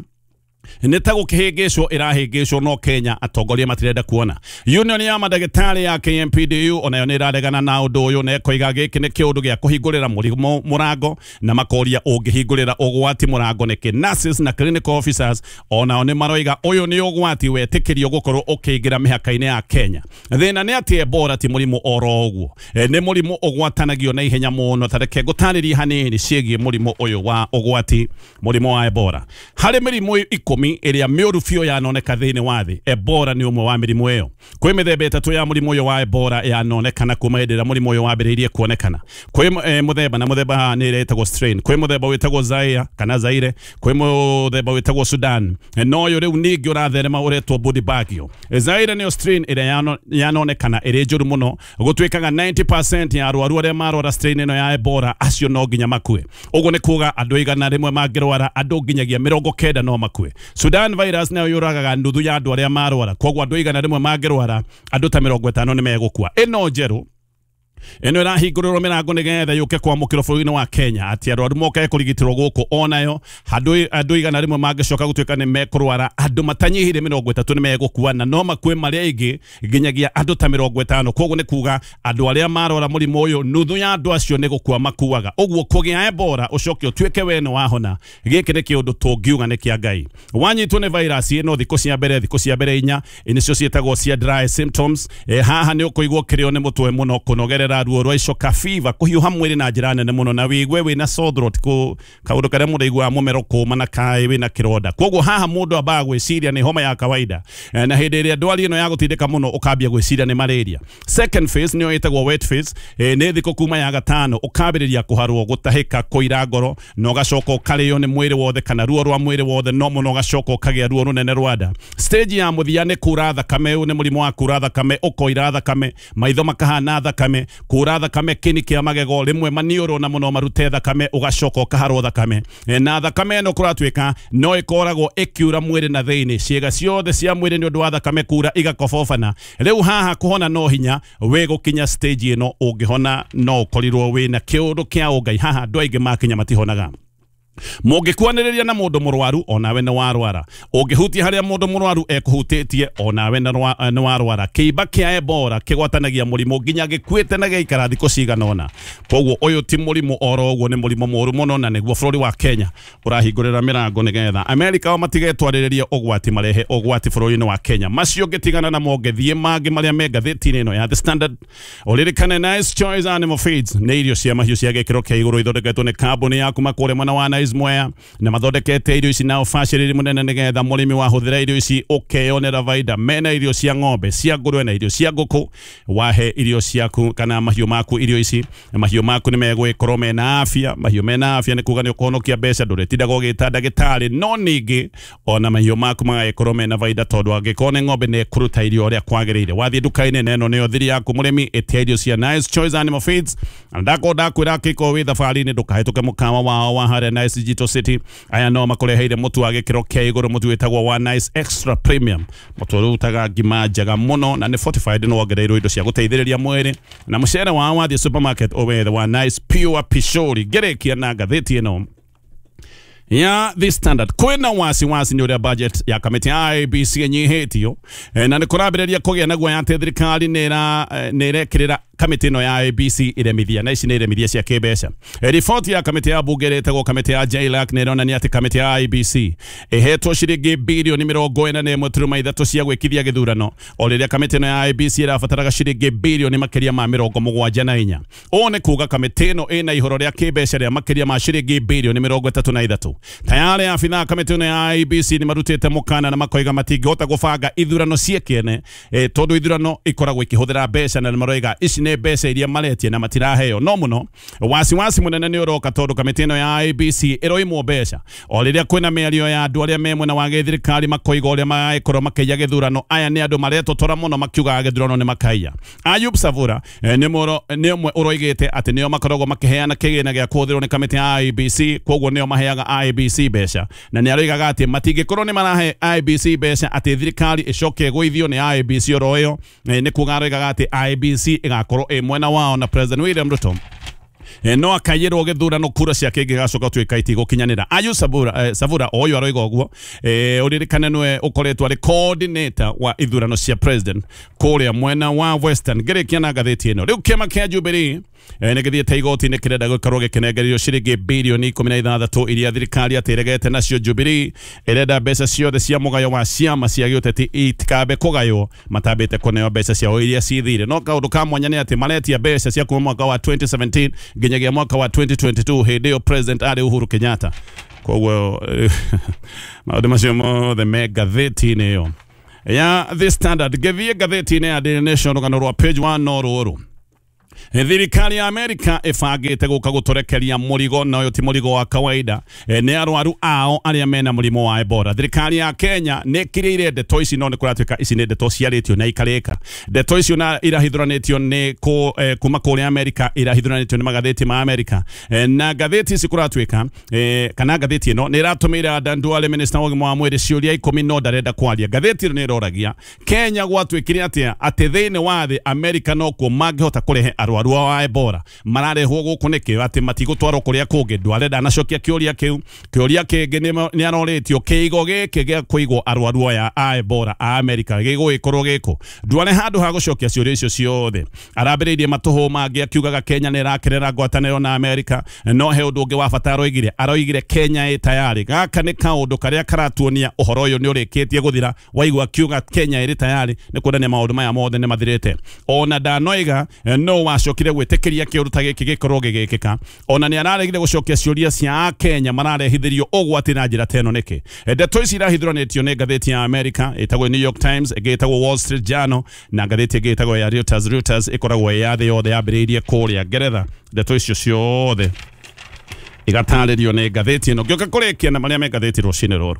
S1: nĩ ta gũkĩhĩngĩcwo ĩrahĩngĩcwo, no Kenya atongoria matirenda kuona. Union ya mandagĩtarĩ ya K M P D U onayo nĩ ĩraregana na ũndũ ũyũ na ĩkoiga gĩkĩ nĩ kĩũndũ gĩa kũhingũrĩra mũrimũ mũrango, na makoria ũngĩhingũrĩra ũgwati mũrango nĩkĩ. Nurses na clinical officers onao nĩ maroiga ũyũ nĩ ũgwati wetĩkĩrio gũkorwo ũkĩingĩra mĩhaka-inĩ ya Kenya. Thĩna nĩ atĩ Ebola ti mũrimũ oro ũguo, nĩ mũrimũ ũgwatanagio na ihenya mũno. Ta reke ngũtarĩrie hanini ciĩgiĩ mũrimũ ũyũ wa ũgwati, mũrimũ wa Ebola. Harĩ mĩrimũ ikũmi ĩrĩa mĩũru biũ yanoneka thĩinĩ wa thĩ, Ebola nĩ ũmwe wa mĩrimũ ĩyo. Kwĩ mĩthemba ĩtatũ ya mũrimũ ũyũ wa Ebola yanonekana kuma hĩndĩ ĩrĩa mũrimũ ũyũ wambĩrĩirie kuonekana. Kwĩ eh, mũthemba na mũthemba haha nĩ ĩrĩa ĩtagwo strain, kwĩ mũthemba wĩtagwo Zaire kana Zaire, kwĩ mũthemba wĩtagwo Sudan, no ũyũ rĩu ningĩ ũratherema ũretwo Budibagio. Zaire nĩyo strain ĩrĩa yanonekana ĩrĩ njũru mũno, gũtuĩkaga ninety percent ya arwaru arĩa marwara strain ĩno ya Ebola acio no nginya makue. Ũguo nĩ kuga andũ igana rĩmwe mangĩrwara andũ nginyagia mĩrongo kenda no makue. Sudan virus nayo yũragaga nuthu ya andũ arĩa marwara, koguo andũ igana rĩmwe mangĩrwara andũ ta mĩrongo ĩtano nĩ megũkua. Ĩno njerũ ĩno ĩrahingũrĩrwo mĩrango nĩgetha yũke kwamũkĩrwo bũrũri-inĩ wa Kenya, atĩ arwaru moke kũrigitĩrwo gũkũ onayo andũ andũ igana rĩmwe mangĩcoka gũtuĩka nĩ mekũrwara andũ matanyihire mĩrongo ĩtatũ nĩ megũkua, na no makue marĩa aingĩ nginyagia andũ ta mĩrongo ĩtano. Koguo nĩ kuga andũ arĩa marwara mũrimũ ũyũ nuthu ya andũ acio nĩ gũkua makuaga. Ũguo kũgĩa Ebola ũcoke ũtuĩke we nĩ wahona, gĩkĩ nĩ kĩũndũ tũngiuga nĩ kĩa Ngai. Wanyitwo nĩ virus ĩno thikũ cia mbere, thikũ cia mbere inya nĩcio ciĩtagwo cia dry symptoms. E, haha nĩ ũkũigua kĩrĩo nĩ mũtwe mũno, kũnogerera ruo rwa icoka, fever, kũhiũha mwĩrĩ na njĩra nene mũno, na wĩigue wĩna sore throat, kũ kaũndũ karĩa mũndũ aiguaga mũmero kũma na kaĩ wĩna kĩronda. Koguo haha mũndũ ambaga gwĩciria nĩ homa ya kawaida, na hĩndĩ ĩrĩa ndwari ĩno ya gũtindĩka mũno ũkambia gwĩciria nĩ malaria. Second phase nĩyo ĩtagwo wet phase, nĩ thikũ kuma ya gatano ũkambĩrĩria kũharwo, gũtahĩka, kũira ngoro, na ũgacoka ũkarĩo nĩ mwĩrĩ wothe kana ruo rwa mwĩrĩ wothe, no mũno ũgacoka ũkagĩa ruo rũnene rwa nda. Stage ya mũthia nĩ kura thakame, ũyũ nĩ mũrimũ wa kura thakame, ũkoira thakame, maitho makahana thakame, kura thakame kĩni kĩa magego, rĩmwe maniũrũ na mũno marute thakame, ũgacoka ũkaharwo thakame. Na thakame ĩno kũratuĩka no ĩkoragwo ĩkiura mwĩrĩ na thĩinĩ, ciĩga ciothe cia mwĩrĩ nĩ ũndũ wa thakame kura igakobobana. Rĩu haha kũhona no hinya wĩ gũkinya stage ĩno, ũngĩhona no ũkorirwo wĩna kĩũndũ kĩa ũngai. Haha andũ aingĩ makinya matihonaga. Mũngĩkuanĩrĩria na mũndũ mũrwaru onawe nĩ warwara, ũngĩhutia harĩa mũndũ mũrwaru ekũhutĩtie onawe nĩ warwara. Kĩimba kĩa Ebola kĩgwatanagia mũrimũ nginya gĩkuĩte na gĩaikara thikũ cigana ũna. Koguo ũyũ ti mũrimũ oro ũguo, nĩ mũrimũ mũũru mũno, na nĩguo bũrũri wa Kenya ũrahingũrĩra mĩrango nĩgetha Amerika o matigetwarĩrĩria ũgwati marehe ũgwati bũrũri-inĩ wa Kenya. Macio ngĩtigana namo ngĩthiĩ mangĩ marĩa me ngathĩti-inĩ ĩno ya The Standard. Ũririkane Nice Choice Animal Feeds nĩ irio cia mahiũ cia gĩkĩro kĩa igũrũ ithondeketwo nĩ kambuni ya kuma kũrĩa mwena wa Nice Mwea, na mathondekete irio ici na ũbacĩrĩri mũnene nĩgetha mũrĩmi wahũthĩra irio ici ũkeyonera baida. Mena irio cia ng'ombe, cia ngũrwe na irio cia ngũkũ. Wahe irio ciaku kana mahiũ maku irio ici, mahiũ maku nĩ megũgĩkorwo mena afya. Mahiũ mena afya nĩ kuga nĩ ũkũhonokia mbeca, ndũrĩtindaga ũgĩta ndagĩtarĩ, no ningĩ ona mahiũ maku magagĩkorwo mena baida, tondũ angĩkorwo nĩ ng'ombe nĩ ĩkũruta irio ũrĩa kwagĩrĩire. Wathiĩ nduka-inĩ na ĩno nĩyo thiri yaku mũrĩmi, ĩtia irio cia Nice Choice Animal Feeds. Na ndakorwo ndakwĩra angĩkorwo wĩ thabarĩ-inĩ ndũkahĩtũke mũkawa wao wa harĩa Nice Nice Digital City. Aya no makureheire mutu wa gikiro kia iguru, mutu witagwo One Nice Extra Premium, mutu urutaga ngima njega muno na ni fortified, no wongereirwo indo cia guteithĩrĩria mwĩrĩ. Na mucere wa wathiĩ supermarket ũwethe One Nice Pure Pishori. Ngĩrĩkia na ngathĩti ĩno ya The Standard, kwĩna wasiwasi nĩ ũrĩa budget ya kamĩtĩ ya I B C ĩnyihĩtio, na nĩ kũrambĩrĩria kũgĩa na guoya atĩ thirikari nĩ ĩrekĩrĩra kamĩtĩ ĩno ya I B C iremithia, na ici nĩ iremithia cia kĩmbeca. Riboti ya kamĩtĩ ya bunge ĩretagwo kamĩtĩ ya J L A C nĩ ĩronania atĩ kamĩtĩ ya I B C ĩhetwo ciringi birioni mĩrongo ĩna na ĩmwe turuma ithatũ cia gwĩkithia gĩthurano, o rĩrĩa kamĩtĩ ĩno ya I B C ĩrabataraga ciringi birioni makĩria ma mĩrongo mũgwanja na inya. Ũũ nĩ kuga kamĩtĩ ĩno ĩna ihoro rĩa kĩmbeca rĩa makĩria ma ciringi birioni mĩrongo ĩtatũ na ithatũ. Tayari afitha kamĩtĩ ĩno ya I B C nĩ marutĩte mũkana na makoiga matingĩhota gũbanga ithurano ciĩkene, eh, tondũ ithurano ikoragwo ikĩhũthĩra mbeca, na maroiga ici nĩ mbeca iria maretie na matiraheo. No mũno wasiwasi mũnene nĩ ũroka tondũ kamĩtĩ ĩno ya I B C ĩroimwo mbeca o rĩrĩa kwĩna mĩario ya andũ arĩa me mwena wa gĩthirikari makoiga ũrĩa magĩkorwo makĩiya gĩthurano. Aya nĩ andũ maretotora mũno makiugaga gĩthurano nĩ makaiya. Ayub Savura eh, nĩ ũmwe ũroigĩte atĩ nĩo makoragwo makĩheana kĩgĩna gĩa kũhũthĩrwo nĩ kamĩtĩ ya I B C, kwoguo nĩo maheaga I B C mbeca, na nĩ aroigaga atĩ matingĩkorwo nĩ marahe I B C mbeca atĩ thirikari ĩcoke ĩgũithio nĩ I B C oro ĩyo. Nĩ kuga aroigaga atĩ I B C ĩgakorwo ĩ mwena wao na President William Ruto no akaiyĩrwo gĩthurano kura ciake ingĩgacoka gũtuĩka itigũkinyanĩra. Ayub Savura, eh, Savura ũyũ aroiga ũguo, eh, ũririkane nĩwe ũkoretwo arĩ coordinator wa ithurano cia president kũrĩa mwena wa Western. Ngĩrĩkia na ngathĩti ĩno, rĩu kĩama kĩa Jubilee eh, nĩ gĩthiĩte igoti-inĩ kĩrenda gũkorwo gĩkĩnengererio ciringi birioni ikũmi na ithathatũ iria thirikari atĩregete nacio. Jubilee ĩrenda mbeca ciothe cia mũgayo wa ciama cia gĩũteti itikambe kũgaywo matambĩte kũneo mbeca ciao iria cithire. No kaũndũ ka mwanya nĩ atĩ maretia mbeca cia kuma mwaka wa twenty seventeen nginyagia mwaka wa twenty twenty-two, hĩndĩ ĩyo president arĩ Uhuru Kenyatta. Koguo maũndũ macio mothe me ngathĩti-inĩ ĩyo ya The Standard. Ngĩthiĩ ngathĩti-inĩ ya Daily Nation rũgano rwa page one no rũrũ. Thirikari ya Amerika ĩbangĩte gũka gũtũrekeria mũrigo, na ũyũ ti mũrigo wa kawaida, e, nĩ arwaru ao arĩa mena mũrimũ wa Ebola. Thirikari ya Kenya nĩ ĩkĩrĩire ndeto ici, no nĩ kũratuĩka ici nĩ ndeto ciarĩtio na ikarĩka. Ndeto icio na irahithũranĩtio nĩ kũ, eh, kuma kũrĩa Amerika, irahithũranĩtio nĩ magathĩti ma Amerika, e, na ngathĩti ici kũratuĩka, e, kana ngathĩti ĩno nĩ ĩratũmĩire Adan Duale minister wa ũgima wa mwĩrĩ ciũria ikũmi no ndarenda kwaria. Ngathĩti ĩno nĩ ĩroragia Kenya gwatuĩkire atĩa atĩ thĩinĩ wa thĩ Amerika nokuo mangĩhota kũrehe arwaru wa Ebola mararehwo gũkũ nĩkĩ atĩ matigũtwarwo kũrĩa kũngĩ. Duale ndanacokia kĩũria kĩu. Kĩũria kĩngĩ nĩ arorĩtio kĩigo gĩkĩ gĩa kũigwo arwaru aya a Ebola a Amerika gĩgũgĩkorwo gĩkũ. Duale handũ ha gũcokia ciũria icio ciothe arambĩrĩirie matũhũ mangĩ akiugaga Kenya nĩ ĩrakerera ngwatanĩro na Amerika, no he ũndũ ũngĩ wa bata aroigire, aroigire Kenya ĩ tayari. Gaka nĩ kaũndũ karĩa karatuonia ũhoro ũyũ nĩ ũrĩkĩtie gũthira. Waigua akiuga Kenya ĩrĩ tayari nĩ kuonania maũndũ maya mothe nĩ mathirĩte. Ona ndanoiga no wacokire gwĩtĩkĩria kĩũndũ ta gĩkĩ gĩkorwo gĩgĩkĩka. Ona nĩ araregire gũcokia ciũria cia Kenya mararehithĩrio ũgwati na njĩra ta ĩno nĩkĩ. Ndeto ici irahithũranĩtio nĩ ngathĩti ya Amerika ĩtagwo New York Times, ĩngĩ ĩtagwo Wall Street Journal, na ngathĩti ĩngĩ ĩtagwo ya Reuters. Reuters ĩkoragwo ya thĩ yothe yambĩrĩirie kũrĩa Ngeretha. Ndeto icio ciothe igatarĩrio nĩ ngathĩti ĩno. Ngĩũka kũrĩkia na marĩa me ngathĩti rũcinĩ rũrũ.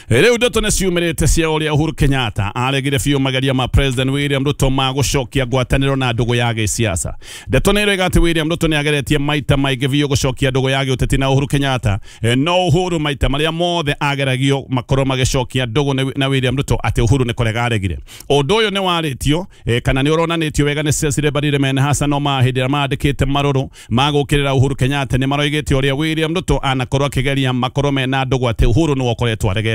S1: Rĩu ndeto nĩ ciumĩrĩte cia ũrĩa Uhuru Kenyatta aregire biũ mageria ma President William Ruto ma gũcokia ngwatanĩro na ndũgũ ya gĩsiasa. Ndeto nĩ ĩroiga atĩ William Ruto nĩ ageretie maita maingĩ biũ gũcokia ndũgũ ya gĩũteti na Uhuru Kenyatta, no Uhuru maita marĩa mothe ageragio makorwo magĩcokia ndũgũ na William Ruto atĩ Uhuru nĩ kũrega aregire. Ũndũ ũyũ nĩ warĩtio kana nĩ ũronanĩtio wega nĩ Cecily Mbarire mena Hassan Omar hĩndĩ ĩrĩa mandĩkĩte marũrũ ma gũũkĩrĩra Uhuru Kenyatta. Nĩ maroigĩte ũrĩa William Ruto anakorwo akĩgeria makorwo mena ndũgũ atĩ Uhuru nĩwe ũkoretwo aregete.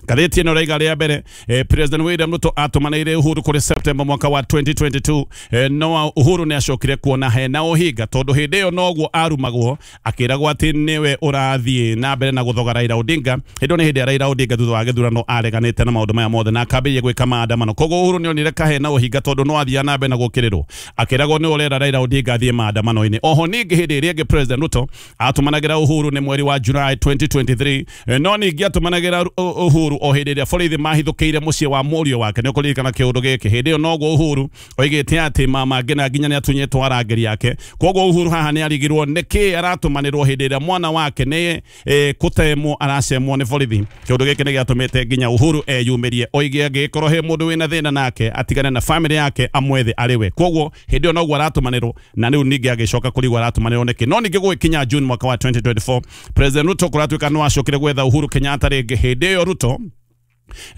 S1: Ngathĩti ĩno ĩraiga rĩa mbere, eh, President William Ruto atũmanĩire Uhuru kũrĩ September mwaka wa twenty twenty-two, eh, no Uhuru nĩ acokire kuona hena ũhinga tondũ hĩndĩ ĩyo noguo arumagwo akĩragwo atĩ nĩwe ũrathiĩ na mbere na gũthoga Raila Odinga. Hĩndĩ ĩyo nĩ hĩndĩ ya Raila Odinga thutha wa gĩthurano areganĩte na maũndũ maya mothe na akambĩrĩria gwĩka maandamano. Koguo Uhuru nĩ onire kahena ũhinga tondũ no athiaga na mbere na gũkĩrĩrwo akĩragwo nĩ ũrera Raila Odinga athiĩ maandamano-inĩ. Oho ningĩ hĩndĩ ĩrĩa ĩngĩ President Ruto atũmanagĩra Uhuru nĩ mweri wa July twenty twenty-three, eh, no ningĩ atũmanagĩra Uhuru o hĩndĩ ĩrĩa borithi mahithũkĩire mũciĩ wa mũriũ wake. Nĩ ũkũririkana kĩũndũ gĩkĩ, hĩndĩ ĩyo noguo Uhuru oigĩte atĩ mama Ngina nginya nĩ atunyĩtwo arangĩri ake. Koguo Uhuru haha nĩ arigirwo nĩkĩ aratũmanĩrwo hĩndĩ ĩrĩa mwana wake nĩ eh, kũtemwo aracemwo nĩ borithi. Kĩũndũ gĩkĩ nĩ gĩatũmĩte nginya Uhuru eyumĩrie oige angĩkorwo he mũndũ wĩna thĩna nake atigane na family yake amwethe arĩ we. Koguo hĩndĩ ĩyo noguo aratũmanĩrwo, na rĩu ningĩ agĩcoka kũrigwo aratũmanĩrwo nĩkĩ. No ningĩ gũgĩkinya June mwaka wa twenty twenty-four, President Ruto kũratuĩka no acokire gwetha Uhuru Kenyatta rĩngĩ. Hĩndĩ ĩyo Ruto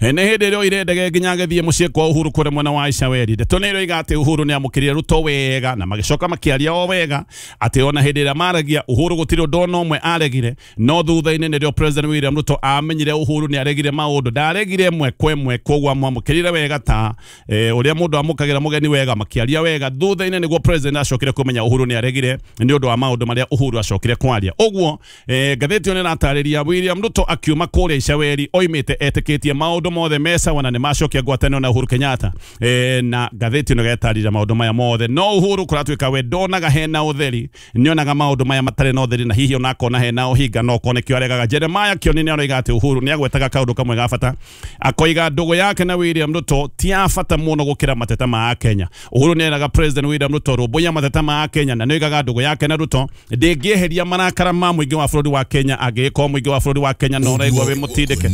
S1: nĩ hĩndĩ ĩrĩa oire ndege nginya agĩthiĩ mũciĩ kwa Uhuru kũrĩa mwena wa Icaweri. Ndeto nĩ ĩroiga atĩ Uhuru nĩ amũkĩrire Ruto wega na magĩcoka makĩaria o wega atĩ ona hĩndĩ ĩrĩa maragia Uhuru gũtirĩ ũndũ ona ũmwe aregire, no thutha-inĩ nĩrĩo President William Ruto amenyire Uhuru nĩ aregire maũndũ, ndaregire ĩmwe kwa ĩmwe, koguo amwamũkĩrire wega ta ũrĩa mũndũ amũkagĩra mũgeni wega, makĩaria wega. Thutha-inĩ nĩguo President acokire kũmenya Uhuru nĩ aregire nĩ ũndũ wa maũndũ marĩa Uhuru acokire kwaria. Ũguo ngathĩti ĩyo nĩ ĩratarĩria William Ruto akiuma kũrĩa Icaweri oimĩte etĩkĩtie maũndũ mothe mesawa na nĩ macokia ngwatanĩro na Uhuru Kenyatta. E, na ngathĩti ĩno ĩgetarĩria maũndũ maya mothe, no Uhuru kũratuĩka we ndonaga hena ũtheri, nĩonaga maũndũ maya matarĩ na ũtheri, na hihi ona akona hena ũhinga no kone kĩo aregaga. Jeremiah Kioni nĩ aroiga atĩ Uhuru nĩ agwetaga kaũndũ kamwe ga bata, akoiga ndũgũ yake na William Ruto ti ya bata mũno gũkĩra mateta ma Kenya. Uhuru nĩ eraga President William Ruto rũmbũiya mateta ma Kenya, na nĩoigaga ndũgũ yake na Ruto ndĩngĩeheria marakara ma mũingĩ wa bũrũri wa Kenya angĩgĩkorwo mũingĩ wa bũrũri wa Kenya no ũraigua wĩ mũtindĩke.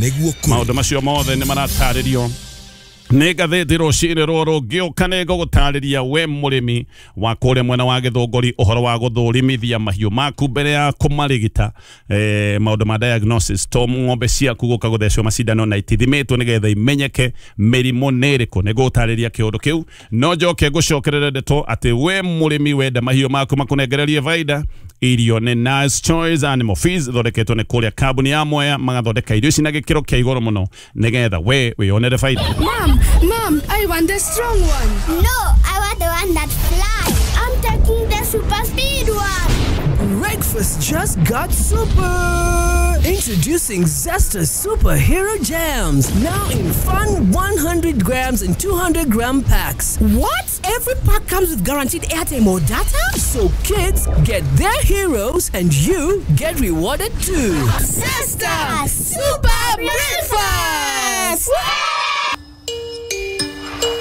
S1: Maũndũ macio mothe nĩ maratarĩrio nĩ ngathĩti rũcinĩ rũrũ. Ngĩũka nĩ ngũgũtarĩria we mũrĩmi wa kũrĩa mwena wa Gĩthũngũri ũhoro wa gũthũrimithia mahiũ maku mbere ya kũmarigita, eh, maũndũ ma diagnosis, to ng'ombe ciaku gũka gũthecwo macindano na itithimĩtwo nĩgetha imenyeke mĩrimũ nĩ ĩrĩkũ. Nĩ ngũgũtarĩria kĩũndũ kĩu, no njoke ngũcokerere ndeto atĩ we mũrĩmi wenda mahiũ maku makũnengererie baida, irio nĩ Nice Choice Animal Feeds ithondeketwo nĩ kũrĩa kambuni ya Mwea, magathondeka irio ici na gĩkĩro kĩa igũrũ mũno nĩgetha we wĩyonere baida.
S14: Mom, Mom, I want the strong one.
S15: No, I want the one that flies. I'm taking the super speed one.
S16: Breakfast just got super. Introducing Zesta Superhero Jams, now in fun one hundred grams and two hundred gram packs.
S9: What? Every pack comes with guaranteed airtime or data?
S16: So kids get their heroes and you get rewarded too.
S14: Zesta Super Breakfast!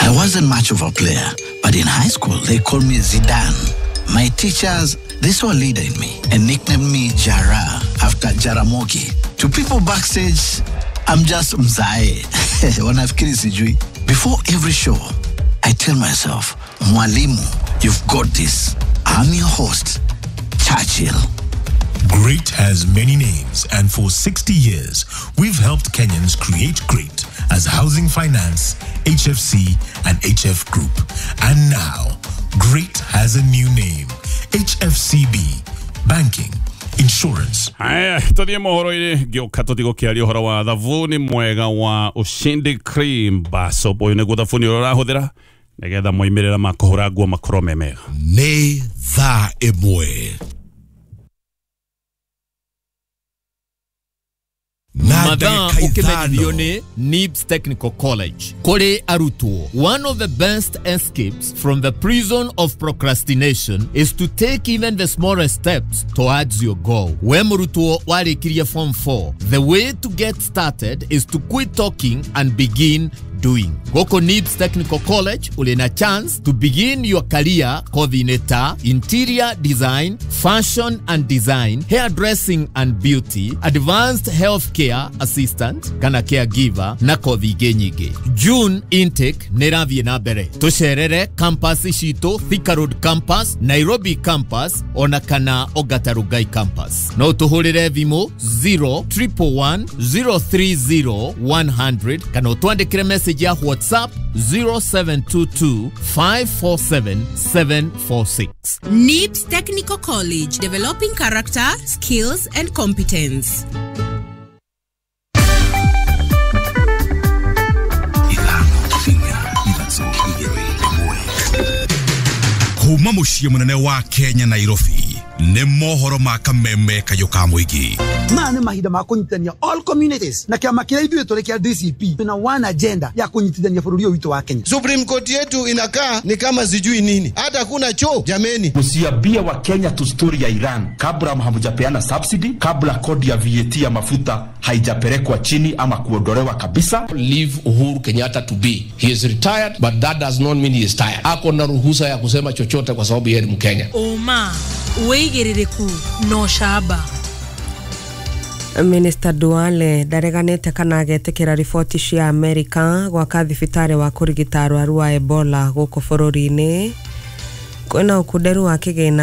S17: I wasn't much of a player, but in high school they called me Zidane. My teachers, they saw a leader in me and nicknamed me Jara after Jaramogi. To people backstage, I'm just Mzae. Wanafikiri sijui. Before every show, I tell myself, Mwalimu, you've got this. I'm your host, Churchill.
S18: Great has many names, and for sixty years, we've helped Kenyans create great as Housing Finance, H F C, and H F Group. And now, Great has a new name, H F C B, Banking, Insurance.
S1: Haya, tuthie mohoro-inĩ ngĩũka tũtigũkĩaria ũhoro wa thabuni mwega wa Ushindi Cream Bar Soap. Ũyũ nĩguo thabuni ũrĩa ũrahũthĩra nĩgetha moimĩrĩra ma kũhũra nguo makorwo me mega.
S7: Nĩ thaa ĩmwe
S19: Mathaa ũkĩmenyithio nĩ Nibs Technical College. Kũrĩ arutwo, one of the best escapes from the prison of procrastination is to take even the smallest steps towards your goal. We mũrutwo warĩkirie form four, the way to get started is to quit talking and begin doing. Goko Nibs Technical College uli na chance to begin your career kothi-inĩ ta interior design, fashion and design, hairdressing and beauty, advanced healthcare assistant kana caregiver na kothi ingĩ nyingĩ. June intake nĩ ĩrathiĩ na mbere. Tũcerere campus citũ, Thika Road campus, Nairobi campus ona kana Ongata Rongai campus. No tũhũrĩre thimũ zero triple one zero three zero one hundred kana ũtwandĩkĩre message ya WhatsApp zero seven two two five four seven seven four six.
S20: Nibs Technical College, developing character, skills and competence.
S21: Kuma muciĩ mũnene wa Kenya Nairobi,
S7: Nĩ mohoro ma kameme kayũ ka mũingĩ.
S21: Maya nĩ mahinda ma kũnyitithania all communities na kĩama kĩrĩa ithuĩ tũrĩ kĩa D C P tuna one agenda ya kũnyitithania bũrũri ũyũ witũ wa Kenya.
S22: Supreme Court yetu inakaa ni kama sijui nini, hata kuna choo jameni.
S23: Msiambie wa Kenya tu story ya Iran kabla hamjapeana subsidy, kabla kodi ya V A T ya mafuta haijapelekwa chini ama kuondolewa kabisa.
S24: Leave Uhuru Kenyatta to be. He is retired, but that does not mean he is tired. Ako na ruhusa ya kusema chochote kwa sababu yeye ni Mkenya.
S25: Oma wĩigĩrĩrĩku no camba.
S26: Minister Duale ndareganĩte kana agetĩkĩra riboti cia Amerika gwaka thibitarĩ wa kũrigita arwaru a Ebola gũkũ bũrũri-inĩ. Kwĩna ũkunderu wa kĩgĩna